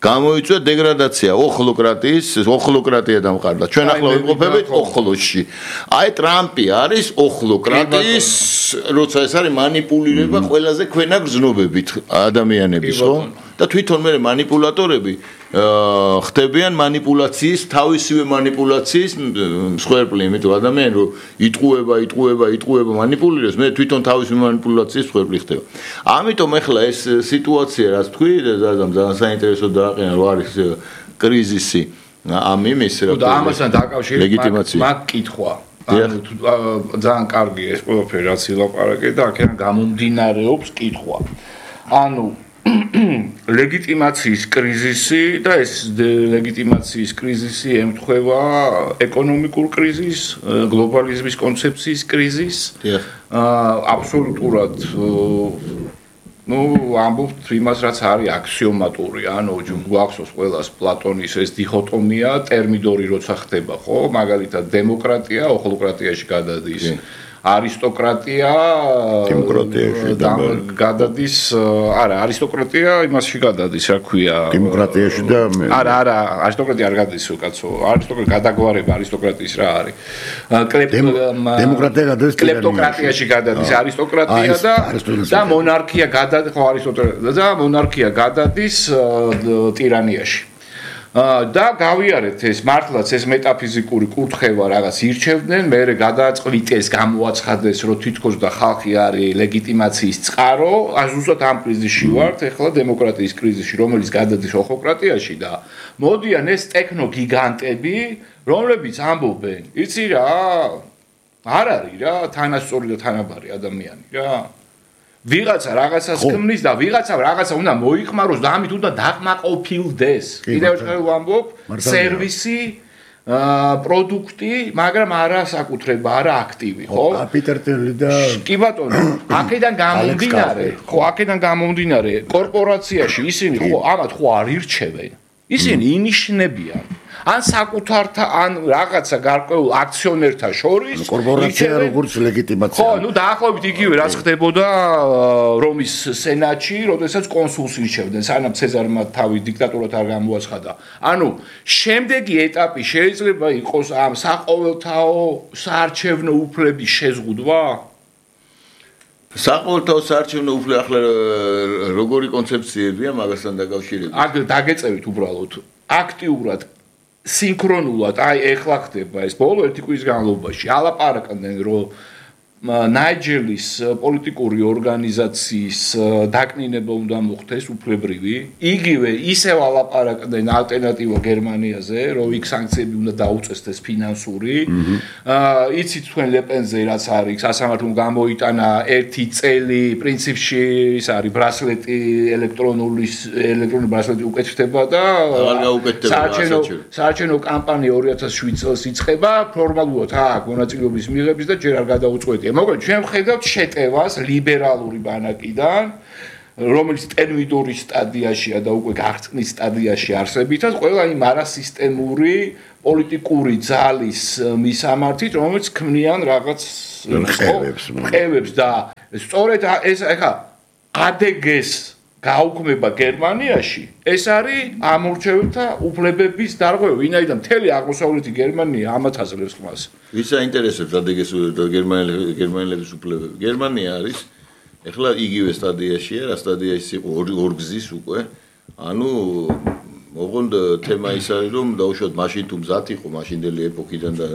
გამოიწვია დეგრადაცია, ოხლოკრატია დამყარდა. ჩვენ ახლა ვიმყოფებით ოხლოში. აი ტრამპი არის ოხლოკრატიის, როცა ეს არის მანიპულირება ყველაზე ქვენა გრძნობებით ადამიანების, ხო? და თვითონ მე მანიპულატორები ხდებიან მანიპულაციის, თავისივე მანიპულაციის მსხვერპლი, იმიტომ ადამიანი რომ იტყუება მანიპულირებს, მე თვითონ თავისივე მანიპულაციის მსხვერპლი ხდება. ამიტომ ახლა ეს სიტუაცია, რაც თქვი, ძალიან საინტერესო დააყენა, რომ არის კრიზისი ამ იმის და ამასთან დაკავშირებით მაგ კითხვა. ანუ ძალიან კარგი ეს ყველაფერი რაც ილაპარაკე და აქედან გამომდინარეობს კითხვა. ანუ ლეგიტიმაციის კრიზისი და ეს ლეგიტიმაციის კრიზისი ემთხვევა ეკონომიკურ კრიზისს, გლობალიზმის კონცეფციის კრიზისს. აბსოლუტურად ამბობთ იმას, რაც არის აქსიომატური, ანუ გვახსოვს ყველას პლატონის ეს დიქოტომია, ტერმიდორი როცა ხდება, ხო? მაგალითად დემოკრატია ოხლოკრატიაში გადადის. არისტოკრატია გადადის, არა, არისტოკრატია იმასში გადადის, რა ქვია, დემოკრატიაში და არა, არისტოკრატია არ გადადის, კაცო. არისტოკრატია გადაგვარება არისტოკრატიის რა არის. დემოკრატია გადადის კლეპტოკრატიაში გადადის არისტოკრატია და მონარქია გადადის, ხო, არისტოკრატია და მონარქია გადადის ტირანიაში. და გავიარეთ ეს მართლაც ეს მეტაფიზიკური კურთხევა რაღაც ირჩევდნენ, მერე გადააწყვიტეს, გამოაცხადეს, რომ თითქოს და ხალხი არის ლეგიტიმაციის წყარო, ზუსტად ამ კრიზისში ვართ, ეხლა დემოკრატიის კრიზისში, რომელიც გადადის ოხლოკრატიაში და მოდიან ეს ტექნოგიგანტები, რომლებიც ამბობენ, იცი რა, არ არის რა, თანასწორი და თანაბარი ადამიანი რა. ვიღაცა რაღაცას ქმნის და ვიღაცა რაღაცა უნდა მოიხმაროს და ამით უნდა დაკმაყოფილდეს. კიდევ ერთხელ ვამბობ, სერვისი, პროდუქტი, მაგრამ არა საკუთრება, არა აქტივი, ხო? პიტერ ტილი და კი ბატონო, აქედან გამომდინარე, კორპორაციაში ისინი ხო ამათ ხო არ ირჩევენ. ისინი ინიშნებიან. ან საკუთართა ან რაღაცა გარკვეულ აქციონერთა შორის კორპორაცია როგორც ლეგიტიმაცია. ხო, დაახლოებით იგივე რაც ხდებოდა რომის სენატში, როდესაც კონსულს ირჩევდნენ, სანამ ცეზარმა თავი დიქტატურად არ გამოაცხადა. ანუ შემდეგი ეტაპი შეიძლება იყოს ამ საყოველთაო საარჩევნო უფლების შეზღუდვა? საყოველთაო საარჩევნო უფლება ახლა როგორი კონცეფციებია მაგასთან დაკავშირებით? აქ დაგეწევით უბრალოდ აქტიურად სინქრონულად აი ეხლა ხდება ეს ბოლო ერთი კვირის განმავლობაში ალაპარაკდნენ რომ ნაიჯერის პოლიტიკური ორგანიზაციის დაკნინება უნდა მოხდეს უფლებრივი. იგივე ისევ ალაპარაკდნენ ალტერნატივა გერმანიაზე, რომ იქ სანქციები უნდა დაუწესდეს ფინანსური. იცით თქვენ ლეპენზე რაც არის, სასამართლომ გამოიტანა 1 წელი პრინციპში ის არის ბრასლეტი ელექტრონული ბრასლეტი უკეთდება და საარჩევნო კამპანია 2007 წელს იწყება, ფორმალურად აქვს მონაწილეობის მიღების და ჯერ არ გადაუწყვეტია. მოკლედ ჩვენ ვხედავთ შეტევას ლიბერალური ბანაკიდან, რომელიც ტერმიდორის სტადიაშია და უკვე გაღწნის სტადიაში არსებითად, ყველა იმ არასისტემური პოლიტიკური ძალის მისამართით, რომელიც ქმნიან რაღაც მყევებს და სწორედ ეს ახლა ADG-ს გაუქმება გერმანიაში, ეს არის ამორჩეველთა უფლებების დარღვევა, ვინაიდან მთელი აღმოსავლეთი გერმანია ამათ აძლევს ხმას. ვის აინტერესებს ADG-ს და გერმანელების უფლებები? გერმანია არის ეხლა იგივე სტადიაშია, რა სტადიაში იყო ორგზის უკვე. ანუ ოღონდ თემა ის არის, რომ დაუშვათ მაშინ თუ მზად იყო მაშინდელი ეპოქიდან და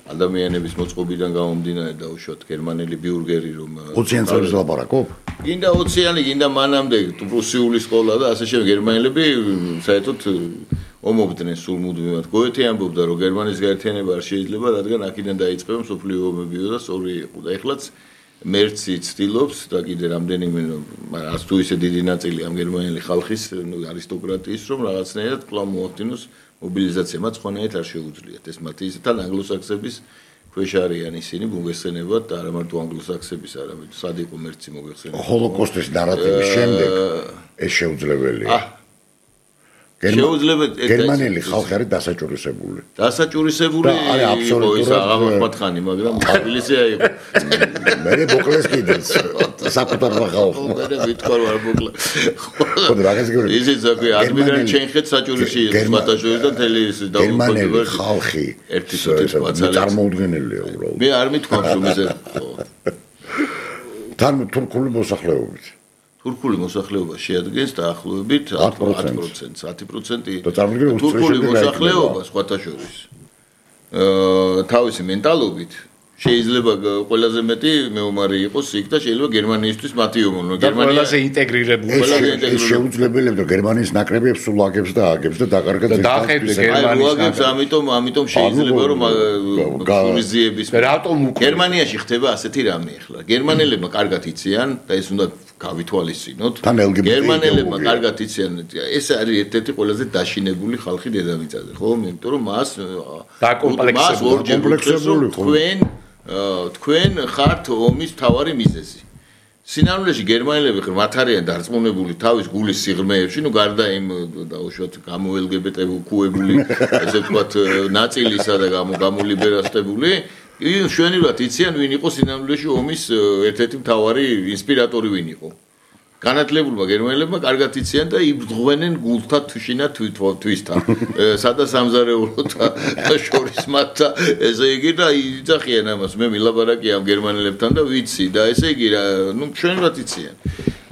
ადამიანების მოწყობიდან გამომდინარე დაუშვათ გერმანელი ბიურგერი რომ 20 წელს ლაპარაკობ? გინდა 20-იანი, გინდა მანამდე პრუსიული სკოლა და ასე შემდეგ გერმანელები საერთოდ ომობდნენ სულ მუდმივად. გოეთე ამბობდა რომ გერმანიის გაერთიანება არ შეიძლება, რადგან აქედან დაიწყება მსოფლიო ომებიო და სწორი იყო. და ეხლაც მერცი ცდილობს და კიდე რამდენიმე არც თუ ისე დიდი ნაწილი ამ გერმანელი ხალხის არისტოკრატიის რომ რაღაცნაირად კვლავ მოახდინოს მობილიზაცია, მათ ხონიათ არ შეუძლიათ. ეს მათი ისთან ანგლოსაქსების ქვეშ არიან ისინი მოგეხსენებათ და არა მარტო ანგლოსაქსების, არამედ სად იყო მერცი მოგეხსენებათ. ჰოლოკოსტის ნარატივის შემდეგ ეს შეუძლებელია. გერმანელი ხალხი არის დასაჭურისებული. დასაჭურისებული იყო ის აღმოხმათხანი, მაგრამ თბილისია იყო. მე მოკლეს კიდეც საკუთარ ხალხს. მე ვიტყვარ ვარ მოკლე. ხო და მაგას გიორგი. ისიც ზოგი ადმირალი ჩენხეთ საჭურისში იყო ბატაჟორი და თელი ის გერმანელი ხალხი ერთი სოთის მაცალე წარმოუდგენელია უბრალოდ. მე არ მithქვამს რომ ეს თან თურქული მოსახლეობით. თურქული მოსახლეობა შეადგენს დაახლოებით 10%. 10% თურქული თურქული მოსახლეობა სხვათა შორის თავისი მენტალობით შეიძლება ყველაზე მეტი მეომარი იყოს იქ და შეიძლება გერმანიისთვის მათი ომონო. გერმანია ყველაზე ინტეგრირებული. ეს შეუძლებელია რომ გერმანიის ნაკრებებს სულ აგებს და აგებს და დაკარგა ძირითადად გერმანიის აგებს, ამიტომ შეიძლება რომ სულიზიების გერმანიაში ხდება ასეთი რამე ახლა. გერმანელებმა კარგად იციან და ეს უნდა გავითვალისწინოთ. გერმანელებმა კარგად იციან, ეს არის ერთ-ერთი ყველაზე დაშინებული ხალხი დედამიწაზე, ხო? იმიტომ რომ მას კომპლექსებული თქვენ ხართ ომის მთავარი მიზეზი. სინამდვილეში გერმანელები მათ არიან დარწმუნებული თავის გულის სიღრმეებში, ნუ გარდა იმ დაუშვათ გამოელგებეტებული, ესე ვთქვათ, ნაწილისა და გამოლიბერალისტებული, შვენივრად იციან ვინ იყო სინამდვილეში ომის ერთ-ერთი მთავარი ინსპირატორი ვინ იყო. განათლებულმა გერმანელებმა კარგად იციან და იბრძღვენენ გულთა თვიშინა თვისთან. სადაც სამზარეულოთა შორის მათთა ესე იგი და იძახიან ამას. მე მილაპარაკე ამ გერმანელებთან და ვიცი და ესე იგი ნუ ჩვენවත් იციან.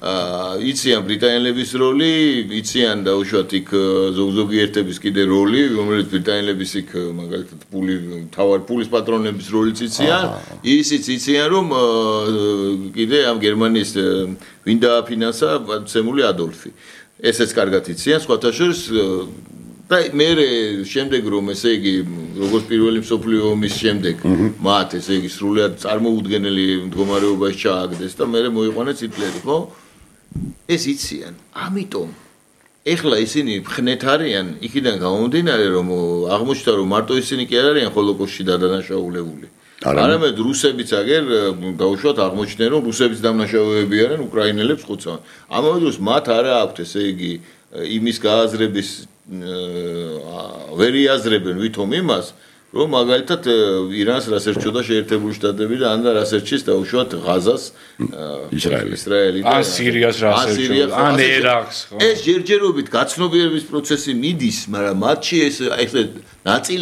იციან ბრიტანელების როლი, იციან დაუშვათ იქ ზოგიერთების კიდე როლი, რომელიც ბრიტანელების იქ მაგალითად პულის პატრონების როლიც იციან. ისიც იციან რომ კიდე ამ გერმანიის ვინ დააფინანსა ცემული ადოლფი. ესეც კარგად იციან სხვათა შორის და მე შემდეგ რომ ესე იგი როგორც პირველი მსოფლიო ომის შემდეგ მათ ესე იგი სრულად წარმოუდგენელი მდგომარეობაში ჩააგდეს და მე მოიყვანეს ჰიტლერი, ხო? ეს იციან. ამიტომ ეხლა ისინი ხნეთ არიან იქიდან გამომდინარე რომ აღმოჩნდა რომ მარტო ისინი კი არ არიან ჰოლოკოსტში დადანაშაულებული. არამედ რუსებიც აგერ დაუშვათ აღმოჩნდნენ რომ რუსების დამნაშავეები არიან უკრაინელებს ხუცავენ. ამავე დროს მათ არა აქვთ ესე იგი იმის გააზრების ვერ იაზრებენ ვითომ იმას რომ მაგალითად ირანს რას ერჩოდა შეერთებული შტატები და ან რას ერჩის დაუშვათ ღაზას ისრაელი და სირიას რას ერჩოდა ან ერაყს ხო ეს ჯერჯერობით გაცნობიერების პროცესი მიდის მაგრამ მათში ეს ახლა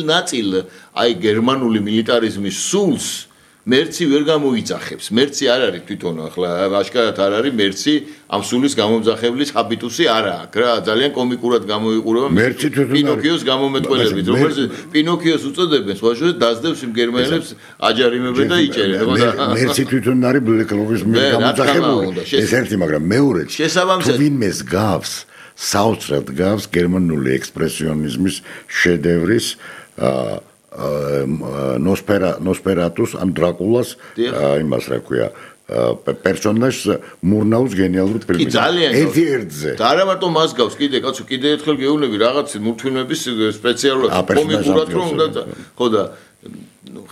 ნაწილ აი გერმანული მილიტარიზმის სულს მერცი ვერ გამოიძახებს. მერცი არ არის თვითონ ახლა აშკარად არ არის მერცი ამ სულის გამომძახებლის ჰაბიტუსი არა აქვს რა. ძალიან კომიკურად გამოიყურება პინოქიოს გამომეტყველებით, რომელზეც პინოქიოს უწოდებენ სხვაშორის დაძდევს იმ გერმანელებს აჯარიმებენ და იჭერენ. მერცი თვითონ არის ბლეკლოგის მიერ გამოძახებული. ეს ერთი, მაგრამ მეორე თუ ვინმეს გავს საოცრად გავს გერმანული ექსპრესიონიზმის შედევრის ნოსფერატუს ან დრაკულას იმას რა ქვია პერსონაჟს მურნაუს გენიალური ფილმი. ერთი ერთზე. და არა მარტო მას გავს, კიდე კაცო, კიდე ერთხელ გეუბნები რაღაც მულტფილმების სპეციალურად კომიკურად რომ უნდა ხო და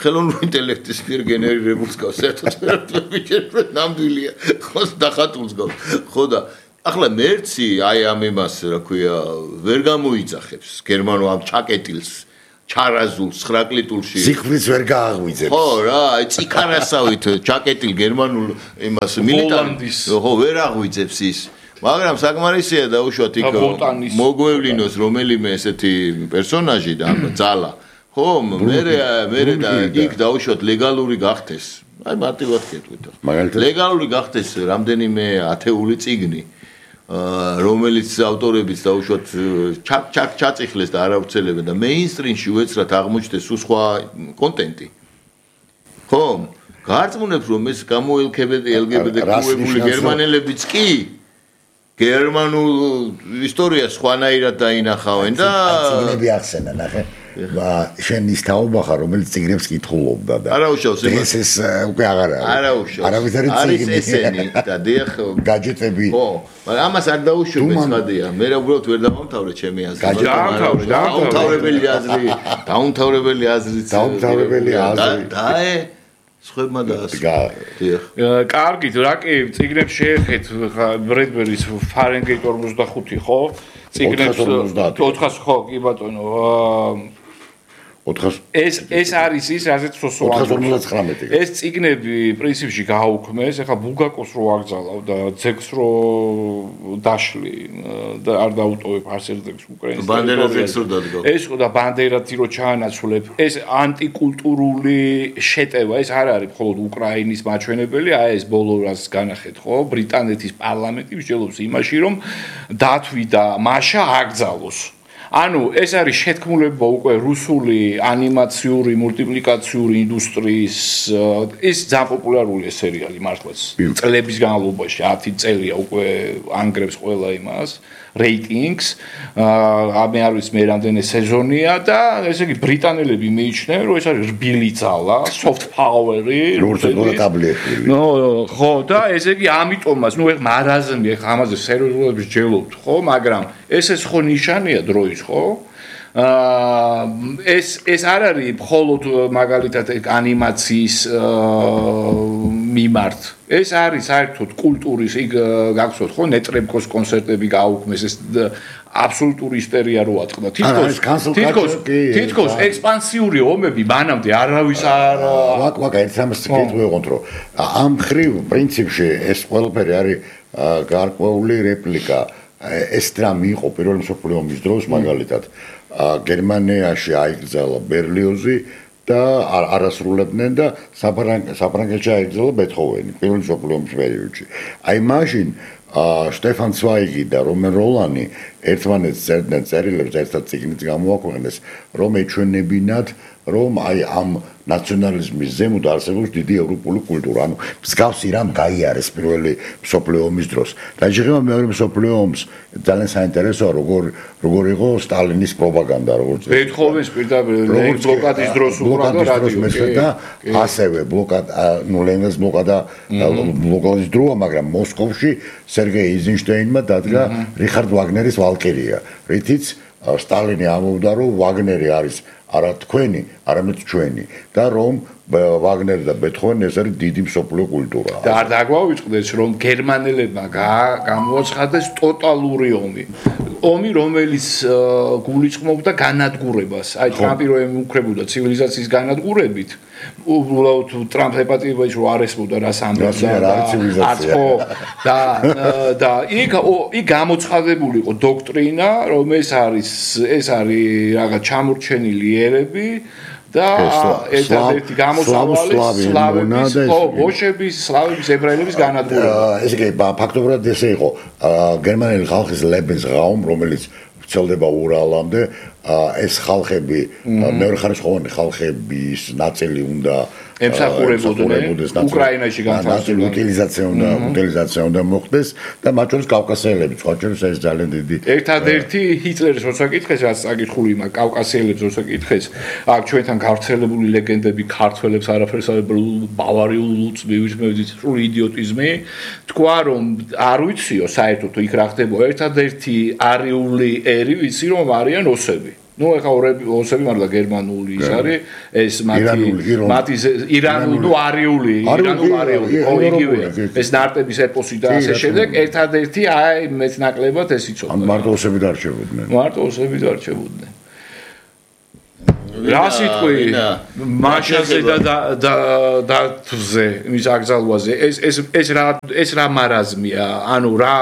ხელოვნური ინტელექტის მიერ გენერირებულს გავს საერთოდ ვიჭერებ ნამდვილია ხო დახატულს გავს ხო და ახლა მერცი აი ამ იმას რა ქვია ვერ გამოიძახებს გერმანულ ამ ჩაკეტილს ჩარაზულ 9 კლიტულში სიკვდილს ვერ გააღვიძებს ხო რა აი ციკარასავით ჩაკეტილ გერმანულ იმას მილიტარის ხო ვერ აღვიძებს ის მაგრამ საკმარისია დაუშვათ იქ მოგვევლინოს რომელიმე ესეთი პერსონაჟი და ძალა ხო მე და იქ დაუშვათ ლეგალური გახდეს აი მარტივად გეტყვით ლეგალური გახდეს რამდენიმე ათეული წიგნი რომელიც ავტორებიც დაუშვათ ჩაწიხლეს და არავრცელებენ და მეინსტრიმში უეცრად აღმოჩნდეს სხვა კონტენტი ხო გარწმუნებს რომ ეს გამოელქებენ LGBT-ებული გერმანელებიც კი გერმანულ ისტორიას სხვანაირად დაინახავენ და წიგნები ახსენა ნახე შენ ის თაობახა რომელიც წიგნებს კითხულობდა და არაუშავს ეს უკვე აღარ არის არაუშავს არავითარი წიგნი არის ესენი და დიახ გაჯეტები ხო მაგრამ ამას არ დაუშვებ ხადია მე რა უბრალოდ ვერ დავამთავრე ჩემი აზრი დაუმთავრებელი აზრით დაე სხვებმა და დიახ კარგით რა კი წიგნებს შეეხეთ ბრედბერის ფარენგეიტ 45 ხო წიგნებს 400 ხო კი ბატონო ეს არის ის რაზეც სოსოა ეს წიგნები პრინციპში გააუქმეს ეხლა ბულგაკოს რო აკრძალავ და ძეგს რო დაშლი და არ დაუტოვებ არსერდებს უკრაინის ბანდერა ძეგს რო დადგა ეს და ბანდერათი რო ჩაანაცვლებ ეს ანტიკულტურული შეტევა ეს არ არის მხოლოდ უკრაინის მაჩვენებელი აი ეს ბოლო რას განახეთ ხო ბრიტანეთის პარლამენტი მსჯელობს იმაში რომ დათვი და მაშა აკრძალოს ანუ ეს არის შეთქმულება უკვე რუსული ანიმაციური მულტიპლიკაციური ინდუსტრიის ის ძალიან პოპულარულია სერიალი მართლაც წლების განმავლობაში 10 წელია უკვე ანგრევს ყველა იმას რეიტინგს ამე არის მე რამდენი სეზონია და ესე იგი ბრიტანელები მიიჩნევენ რომ ეს არის რბილი ძალა soft power-ი ნო ხო და ესე იგი ამიტომაც ნუ ეხ მარაზმი ეხ ამაზე სერიოზულად ვსჯელობთ ხო მაგრამ ეს ხო ნიშანია დროის ხო ეს არ არის მხოლოდ მაგალითად ანიმაციის მიმართ ეს არის საერთოდ კულტურის იქ გახსოვთ ხო ნეტრებკოს კონცერტები გააუქმეს ეს აბსოლუტური ისტერია რო აწყდა თითქოს ექსპანსიური ომები მანამდე არავის არ ვაკ ერთ ამას გეტყვით რომ ამ ხრივ პრინციპში ეს ყველაფერი არის გარკვეული რეპლიკა ეს დრამი იყო პირველი მსოფლიო ომის დროს მაგალითად გერმანიაში აიგზალა ბერლიოზი და არასრულებდნენ და საფრანგეთში აიგზალა ბეთჰოვენი პირველი მსოფლიო ომის პერიოდში. აი მაშინ შტეფან ცვაიგი და რომენ როლანი ერთმანეთს წერდნენ წერილებს ერთად წიგნით გამოაქვეყნეს რომ ეჩვენებინათ რომ აი ამ ნაციონალიზმის ზემოთ არსებობს დიდი ევროპული კულტურა. ანუ მსგავსი რამ გაიარეს პირველი მსოფლიო ომის დროს. დაჟღება მეორე მსოფლიო ომს ძალიან საინტერესოა როგორ იყო სტალინის პროპაგანდა როგორც ბეთჰოვენის პირდაპირ ბლოკადის დროს უყურდა რადიო და ასევე ლენინგრადის ბლოკადის დროა მაგრამ მოსკოვში სერგეი ეიზენშტეინმა დადგა რიხარდ ვაგნერის ვალკირია რითიც სტალინი ამბობდა რომ ვაგნერი არის არა თქვენი, არამედ ჩვენი და რომ ვაგნერი და ბეთჰოვენი ეს არის დიდი მსოფლიო კულტურა. და არ დაგვავიწყდეს რომ გერმანელებმა გამოაცხადეს ტოტალური ომი. ომი რომელიც გულისხმობდა განადგურებას. აი ტრამპი რომ ემუქრებოდა ცივილიზაციის განადგურებით, უბრალოდ ტრამპ ეპატიებაში რომ არ ესმოდა რას ამბობდა და იქ გამოცხადებული იყო დოქტრინა, რომ ეს არის რაღაც ჩამორჩენილი ერები და ერთადერთი გამოსავალი სლავების, ბოშების, სლავების, ებრაელების განადგურება. ესე იგი, ფაქტობრივად ესე იყო, გერმანელი ხალხის Lebensraum, რომელიც ვრცელდება ურალამდე, ეს ხალხები, მეორეხარისხოვანი ხალხების ნაწილი უნდა ემსახურებოდნენ უკრაინაში განთავსებული უტილიზაცია უნდა მოხდეს და მათ შორის კავკასიელები, სხვა შორის ეს ძალიან დიდი ერთადერთი ჰიტლერის როცა კითხეს, რაც წაკითხული იმა კავკასიელებს როცა კითხეს, აქ ჩვენთან გავრცელებული ლეგენდები ქართველებს არაფერს ბავარიულ ლუწს მივისმევდით, სრული იდიოტიზმი, თქვა რომ არ ვიციო საერთოდ იქ რა ხდება, ერთადერთი არიული ერი ვიცი რომ არიან ოსები. Ну, ეხა ოსები მარდა გერმანული ის არის, ეს მათი ირანული, არიული, ხო იგივეა. ეს ნარტების ეპოსი და ასე შემდეგ, ერთადერთი აი მეტნაკლებად ეს იცოდა. მარტო ოსები დარჩებოდნენ. მარტო ოსები დარჩებოდნენ. რა სიტყვი მაშაზე და დათვზე იმის აკრძალვაზე ეს რა მარაზმია, ანუ რა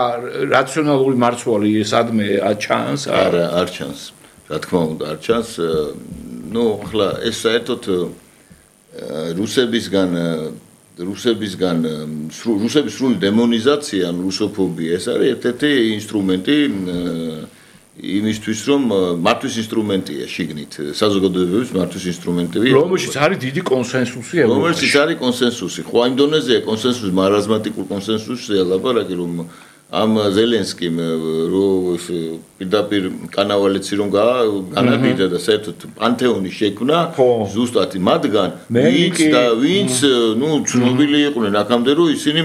რაციონალური მარცვალი სადმე ჩანს? არ ჩანს. რა თქმა უნდა არ ჩანს, ну, ახლა ეს საერთოდ რუსებისგან რუსების სრული დემონიზაცია, რუსოფობია, ეს არის ერთ-ერთი ინსტრუმენტი იმისთვის, რომ მართვის ინსტრუმენტია შიგნით, საზოგადოებების მართვის ინსტრუმენტია. რომელშიც არის დიდი კონსენსუსი ევროპაში. რომელშიც არის კონსენსუსი. ხო, იმ დონეზეა კონსენსუსი, მარაზმატიკულ კონსენსუსია ლაპარაკი, რომ ამ ზელენსკიმ რო პირდაპირ კანავალეცი რომ განადიდა და საერთოდ პანთეონი შექმნა ზუსტად მათგან ვინც ნუ ცნობილი იყვნენ აქამდე რომ ისინი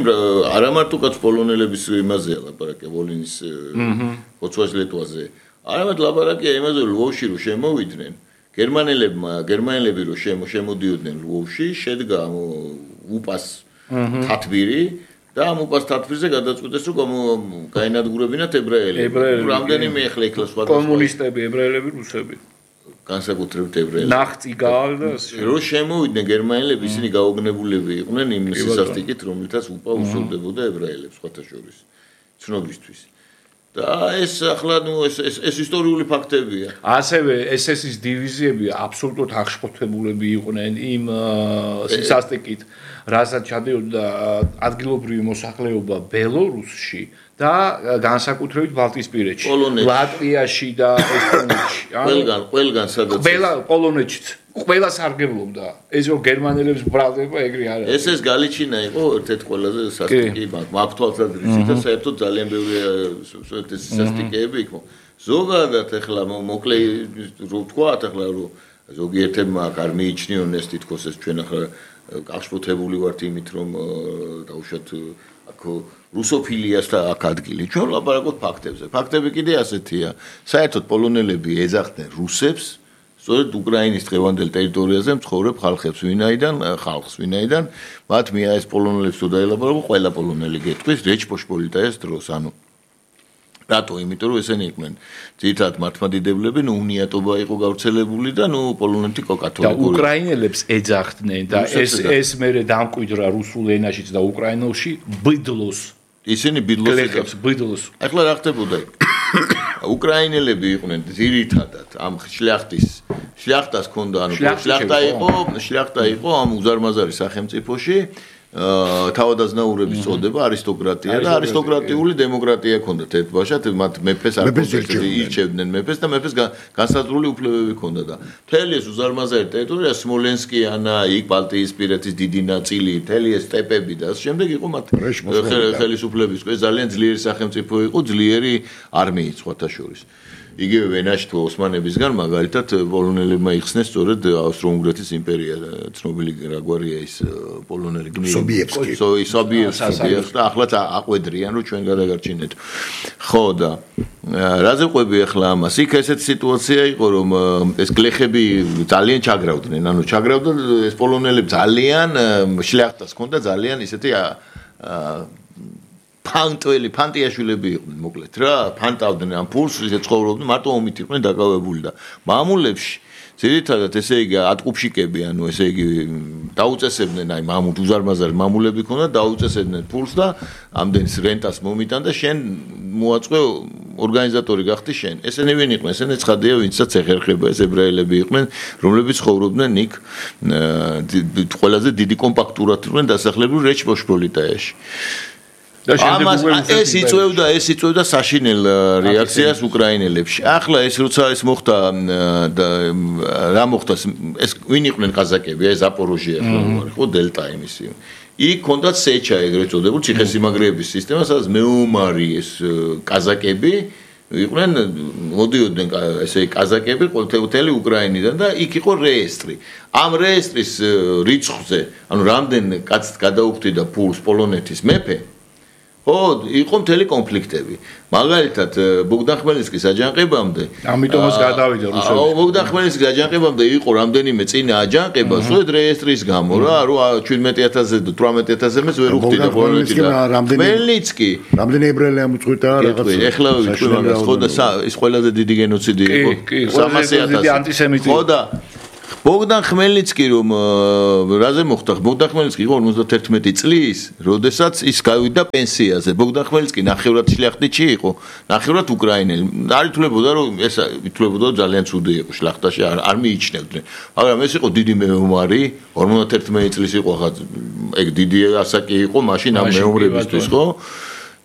არა მარტო კაც პოლონელების იმაზეა ლაპარაკი ვოლინის ხოცვას ლეტვაზე არამედ ლაპარაკია იმაზე ლვოვში რომ შემოვიდნენ გერმანელები რომ შემოდიოდნენ ლვოვში შედგა უპას თათბირი და ამ უპას თათბირზე გადაწყვიტეს რომ გაინადგურებინათ ებრაელები. რამდენიმე ახლა იქლა სხვა კომუნისტები, ებრაელები, რუსები. განსაკუთრებით ებრაელები. ნახტიგალ და რომ შემოვიდნენ გერმანელები, ისინი გაოგნებულები იყვნენ იმ სისასტიკით, რომლითაც უპა უსოლდებოდა ებრაელებს სხვათა შორის. ცნობისთვის. და ეს ახლა ნუ ეს ისტორიული ფაქტებია. ასევე SS-ის დივიზიები აბსოლუტურად აღშფოთებულები იყვნენ იმ სისასტიკით, რასაც ჩადიოდა ადგილობრივი მოსახლეობა ბელორუსში და განსაკუთრებით ბალტიისპირეთში, ლატვიაში და ესტონეთში. ყველგან სადაც პოლონეთშიც ყველა სარგებლობდა. ეს რომ გერმანელებს ბრალდება ეგრე არა. ეს გალიჩინა იყო ერთ-ერთი ყველაზე სასტიკი მართვალსადრისი და საერთოდ ძალიან ბევრი სასტიკეები იყო. ზოგადად ახლა მოკლე რო ვთქვათ ახლა რომ ზოგიერთებმა არ მიიჩნიონ ეს თითქოს ეს ჩვენ ახლა გაშფოთებული ვართ იმით რომ დაუშვათ აქ რუსოფილიას და აქ ადგილი. ჩვენ ვლაპარაკობთ ფაქტებზე. ფაქტები კიდე ასეთია. საერთოდ პოლონელები ეძახდნენ რუსებს სწორედ უკრაინის დღევანდელ ტერიტორიაზე მცხოვრებ ხალხებს, ვინაიდან მათ მიაეს პოლონელებს თუ დაელაპარაკო, ყველა პოლონელი გეტყვის რეჩპოშპოლიტაის დროს, ანუ რატო? იმიტომ რომ ესენი იყვნენ ძირითადად მართლმადიდებლები, უნიატობა იყო გავრცელებული და პოლონეთი კათოლიკური. და უკრაინელებს ეძახდნენ და ეს მერე დამკვიდრა რუსულ ენაშიც და უკრაინულში ბიდლოს. ისინი ბიდლოს. ახლა რა ხდებოდა? უკრაინელები იყვნენ ძირითადად ამ შლიახტას ჰქონდა, ანუ შლიახტა იყო ამ უზარმაზარი სახელმწიფოში. თავადაზნაურების წოდება არისტოკრატია და არისტოკრატიული დემოკრატია ჰქონდათ ერთბაშად, მათ მეფეს არ ირჩევდნენ მეფეს და მეფეს განსაზღვრული უფლებები ჰქონდა და მთელი ეს უზარმაზარი ტერიტორია სმოლენსკიანა, იქ ბალტიისპირეთის დიდი ნაწილი, მთელი ეს სტეპები და ამ შემდეგ იყო მათ ხელისუფლების ძალიან ძლიერი სახელმწიფო იყო, ძლიერი არმიით სხვათა შორის. იგივე ვენაში თუ ოსმანებისგან მაგალითად პოლონელებმა იხსნეს სწორედ ავსტრო-უნგრეთის იმპერია, ცნობილი რაგვარია ის პოლონელი სობიევსკი და ახლაც აყვედრიან რომ ჩვენ გადაგარჩინეთ. ხო და რაზე ყვები ახლა ამას? იქ ესეთი სიტუაცია იყო რომ ეს გლეხები ძალიან ჩაგრავდნენ, ანუ ჩაგრავდა ეს პოლონელები ძალიან შლიახტას ჰქონდა ძალიან ისეთი ფანტიაშვილები იყვნენ მოკლედ რა, ფანტავდნენ ამ ფულს, ისე ცხოვრობდნენ, მარტო ომით იყვნენ დაკავებული და მამულებში ძირითადად ესე იგი ატყუფშიკები, ანუ ესე იგი დაუწესებდნენ აი უზარმაზარი მამულები ქონდა, დაუწესებდნენ ფულს და ამდენს რენტას მომიტან და შენ მოაწყვე ორგანიზატორი გახდი შენ. ესენი ვინ იყვნენ? ესენი ცხადია, ვინცაც ეხერხება ეს ებრაელები იყვნენ, რომლებიც ცხოვრობდნენ იქ ყველაზე დიდი კომპაქტურად იყვნენ დასახლებული რეჩპოშპოლიტაიაში. ეს იწვევდა საშინელ რეაქციას უკრაინელებში. ახლა ეს როცა ეს მოხდა და რა მოხდა ეს ვინ იყვნენ ყაზაკები? ეს ზაპოროჟია ხო დელტა იმისი. იქ კონდათ სეჩა ეგრეთ წოდებული ციხესიმაგრეების სისტემა, სადაც მეომარი ეს ყაზაკები იყვნენ მოდიოდნენ ესე ყაზაკები ყოველთვიათელი უკრაინიდან და იქ იყო რეესტრი. ამ რეესტრის რიცხვზე, ანუ რამდენ კაცს გადაუხდიდა ფულს პოლონეთის მეფე ხო, იყო მთელი კონფლიქტები. მაგალითად, ბოგდან ხმელნიცკის აჯანყებამდე, ამიტომაც გადავიდა რუსეთში. ბოგდან ხმელნიცკის აჯანყებამდე იყო რამდენიმე წინა აჯანყება, სწორედ რეესტრის გამო რა, 17,000-ზე და 18,000-ზე მეც ვერ უხდიდა პოლონეთი და ხმელნიცკი. რამდენი ებრაელი ამოწყვიტა რაღაც. ეხლა ვიტყვი მაგას, ხო და ის ყველაზე დიდი გენოციდი იყო. 300,000. ხო და ბოგდან ხმელნიცკი რომ რაზე მოხდა? ბოგდან ხმელნიცკი იყო 51 წლის, როდესაც ის გავიდა პენსიაზე. ბოგდან ხმელნიცკი ნახევრად შლახტიჩი იყო, ნახევრად უკრაინელი. არ ითვლებოდა რომ ეს ითვლებოდა ძალიან ცუდი იყო შლახტაში, არ მიიჩნევდნენ. მაგრამ ეს იყო დიდი მეომარი, 51 წლის იყო ხა ეგ დიდი ასაკი იყო მაშინ ამ მეომრებისთვის, ხო?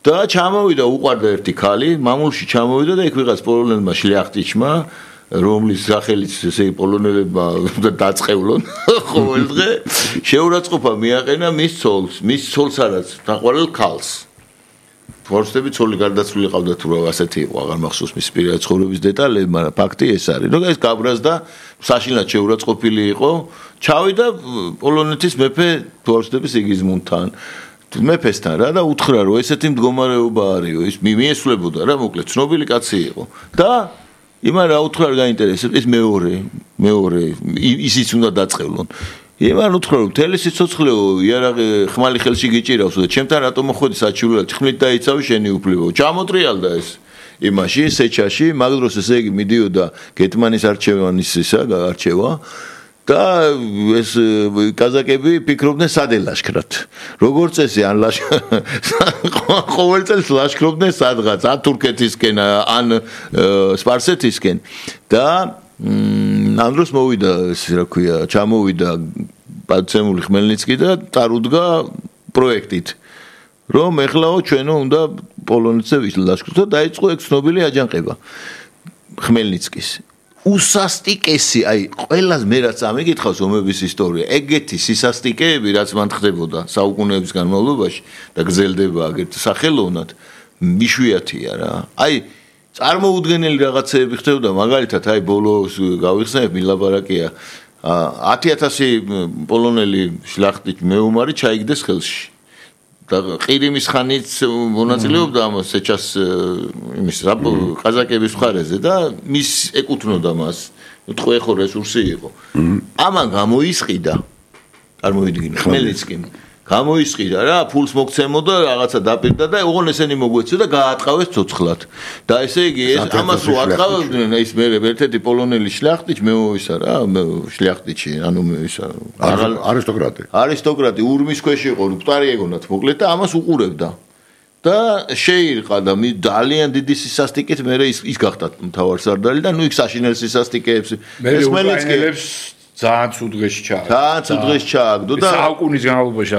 და ჩამოვიდა უყარდა ერთი ქალი, მამულში ჩამოვიდა და იქ ვიღაც პოლონელმა შლახტიჩმა რომლის სახელიც ესე პოლონელებმა დაწყევლონ ყოველდღე შეურაცხყოფა მიაყენა მის ცოლს არაც დაყვალ ქალს ფორსტები ცოლი გარდაცვლილი ყავდა თუ რა ასეთი იყო აღარ მახსოვს მის პირადი ცხოვრების დეტალები მაგრამ ფაქტი ეს არის რომ ეს გაბრაზდა საშინლად შეურაცხყოფილი იყო ჩავიდა პოლონეთის მეფე ფორსტების იგიზმუნდთან მეფესთან რა და უთხრა რომ ესეთი მდგომარეობა არისო ის მიესვლებოდა რა მოკლედ ცნობილი კაცი იყო და იმან რა უთხრა არ გაინტერესებს ეს მეორე ისიც უნდა დაწყევლონ იმან უთხრა რომ მთელი სიცოცხლეო იარაღი ხმალი ხელში გიჭირავს და ჩემთან რატომ მოხვედი საჩივრულად ხმლით დაიცავი შენი უფლებო ჩამოტრიალდა ეს იმაში სეჩაში მაგ დროს ესე იგი მიდიოდა გეტმანის არჩევა და ეს კაზაკები ფიქრობდნენ სადელაშქრად. როგორც წესი ან ყოველ წელს ლაშქრობდნენ სადღაც ან თურქეთისკენ ან სპარსეთისკენ და ამ დროს მოვიდა ეს რა ქვია, ჩამოვიდა პაცემული ხმელნიცკი და წარუდგა პროექტით. რომ ეხლაო ჩვენო უნდა პოლონეთზე ვილაშქროთ და დაიწყო ეგ ცნობილი აჯანყება ხმელნიცკის. უსასტიკესი, აი, ყველას მე რაც ამიგითხავს ომების ისტორია, ეგეთი სისასტიკეები, რაც მან ხდებოდა საუკუნეების განმავლობაში და გრძელდება აგერ სახელოვნად, მიშვიათია რა. აი, წარმოუდგენელი რაღაცეები ხდებოდა, მაგალითად, აი, ბოლოს გავიხსენებ, მილაბარაკია 10,000 პოლონელი შლახტით მეომარი ჩაიგდეს ხელში. და ყირიმის ხანით მონაწილეობდა ამ სეჩას იმის ყაზაკების მხარეზე და მის ეკუთვნოდა მას ტყვე ხო რესურსი იყო ამან გამოისყიდა წარმოვიდგინე ხმელნიცკიმ გამოისყიდა რა ფულს მოგცემოდა რაღაცა დაპირდა და ოღონ ესენი მოგვეცდა და გაატყავეს ცოცხლად და ესე იგი ეს ამას რო ატყავდნენ ის მე ერთ-ერთი პოლონელი შლახტიჩი მეოისა რა შლახტიჩი ანუ ისა არისტოკრატი ურმის ქვეშ იყო მკვდარი ეგონათ მოკლედ და ამას უყურებდა და შეირყა და ძალიან დიდი სისასტიკით მე ის გახდა მთავარსარდალი და ნუ იქ საშინელ სისასტიკეებს ეს ხმელნიცკიებს ძალიან ცუდღეში ჩააგდო და საუკუნის განმავლობაში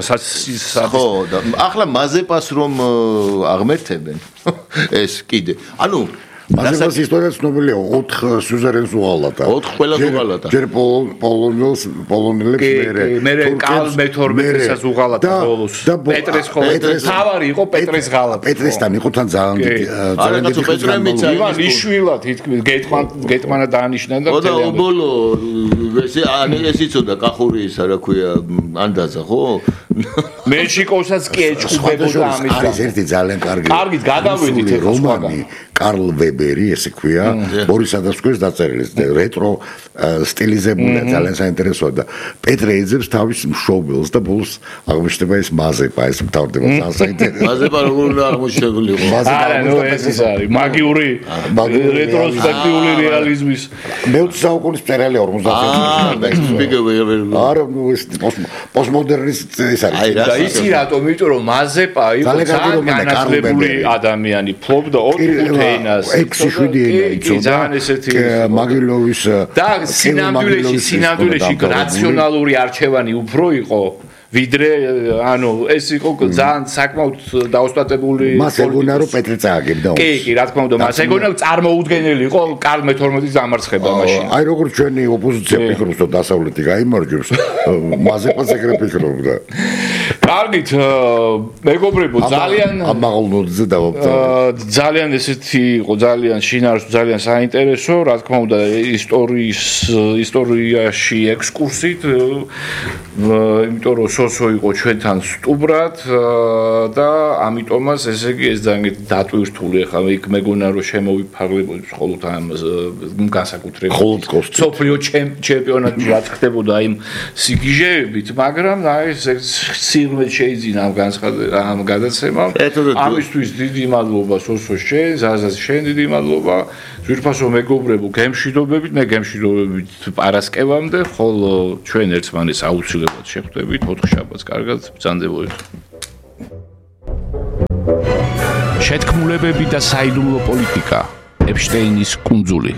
ხო და ახლა მაზეპას რომ აღმერთებენ ეს კიდე ანუ მაზეპას ისტორია ცნობილია 4 სუზერენს უღალატა 4 ყველას უღალატა ჯერ პოლონელებს მერე კალ მე-12-საც უღალატა ბოლოს პეტრეს ხოლმე თავარი იყო პეტრეს ღალატა პეტრესთან იყო თან ძალიან დიდი პეტრემიც ივან იშვილა თითქმის გეტმანა დაანიშნა და და უბოლო ეს იცოდა კახურისა რა ქვია ანდაზა ხო მენშიკოვსაც კი ეჭუბებოდა ამის არის ერთი ძალიან კარგი გადავედით ეხლა რომანი კარლ ვებერი ესე ქვია ბორის ადასკვეს დაწერილი რეტრო სტილიზებულია ძალიან საინტერესოა და პეტრე ეძებს თავის მშობელს და ბოლოს აღმოჩნდება ეს მაზეპა ეს მთავრდება ძალიან საინტერესო მაზეპა როგორ უნდა აღმოჩნდულიყო ეს არის მაგიური რეტროსპექტიული რეალიზმის მე-20 საუკუნის მწერალი 50 არა პოსტმოდერნისტი ეს არის და იცი რატომ იმიტომ რომ მაზეპა იყო ძალიან განათლებული ადამიანი ფლობდა 4 ენას. 6-7 ენა იცოდა. ძალიან ესეთი მაგილოვის და სინამდვილეში რაციონალური არჩევანი უფრო იყო ვიდრე ანუ ეს იყო ძალიან საკმაოდ დაოსტატებული მას ეგონა რომ პეტრე წააგებდა კი რა თქმა უნდა მას ეგონა წარმოუდგენელი იყო კარლ მე-12-ის დამარცხება მაშინ აი როგორც ჩვენი ოპოზიცია ფიქრობს რომ დასავლეთი გაიმარჯვებს მაზეპას ეგრე ფიქრობდა კარგით მეგობრებო ძალიან ამაღლნოძე დავაბრძანე ძალიან ესეთი იყო ძალიან შინაარსო ძალიან საინტერესო რა თქმა უნდა ისტორიაში ექსკურსით იმიტომ რომ სოსო იყო ჩვენთან სტუბრად და ამიტომაც ესე იგი ეს ძალიან დატვირთული ახლა იქ მეგონა რომ შემოვიფარგლებოდი მხოლოდ ამ განსაკუთრებით სოფლიო ჩემპიონატი რაც ხდებოდა იმ სიგიჟეებით მაგრამ აი ეს სიღრმე შეიძინა ამ გადაცემამ ამისთვის დიდი მადლობა სოსო შენ ზაზას შენ დიდი მადლობა ძვირფასო მეგობრებო გემშვიდობებით მე გემშვიდობებით პარასკევამდე ხოლო ჩვენ ერთმანეთს აუცილებლად შეხვდებით 4 შაბათს კარგად ბრძანდებოდით შეთქმულებები და საიდუმლო პოლიტიკა ეპშტეინის კუნძული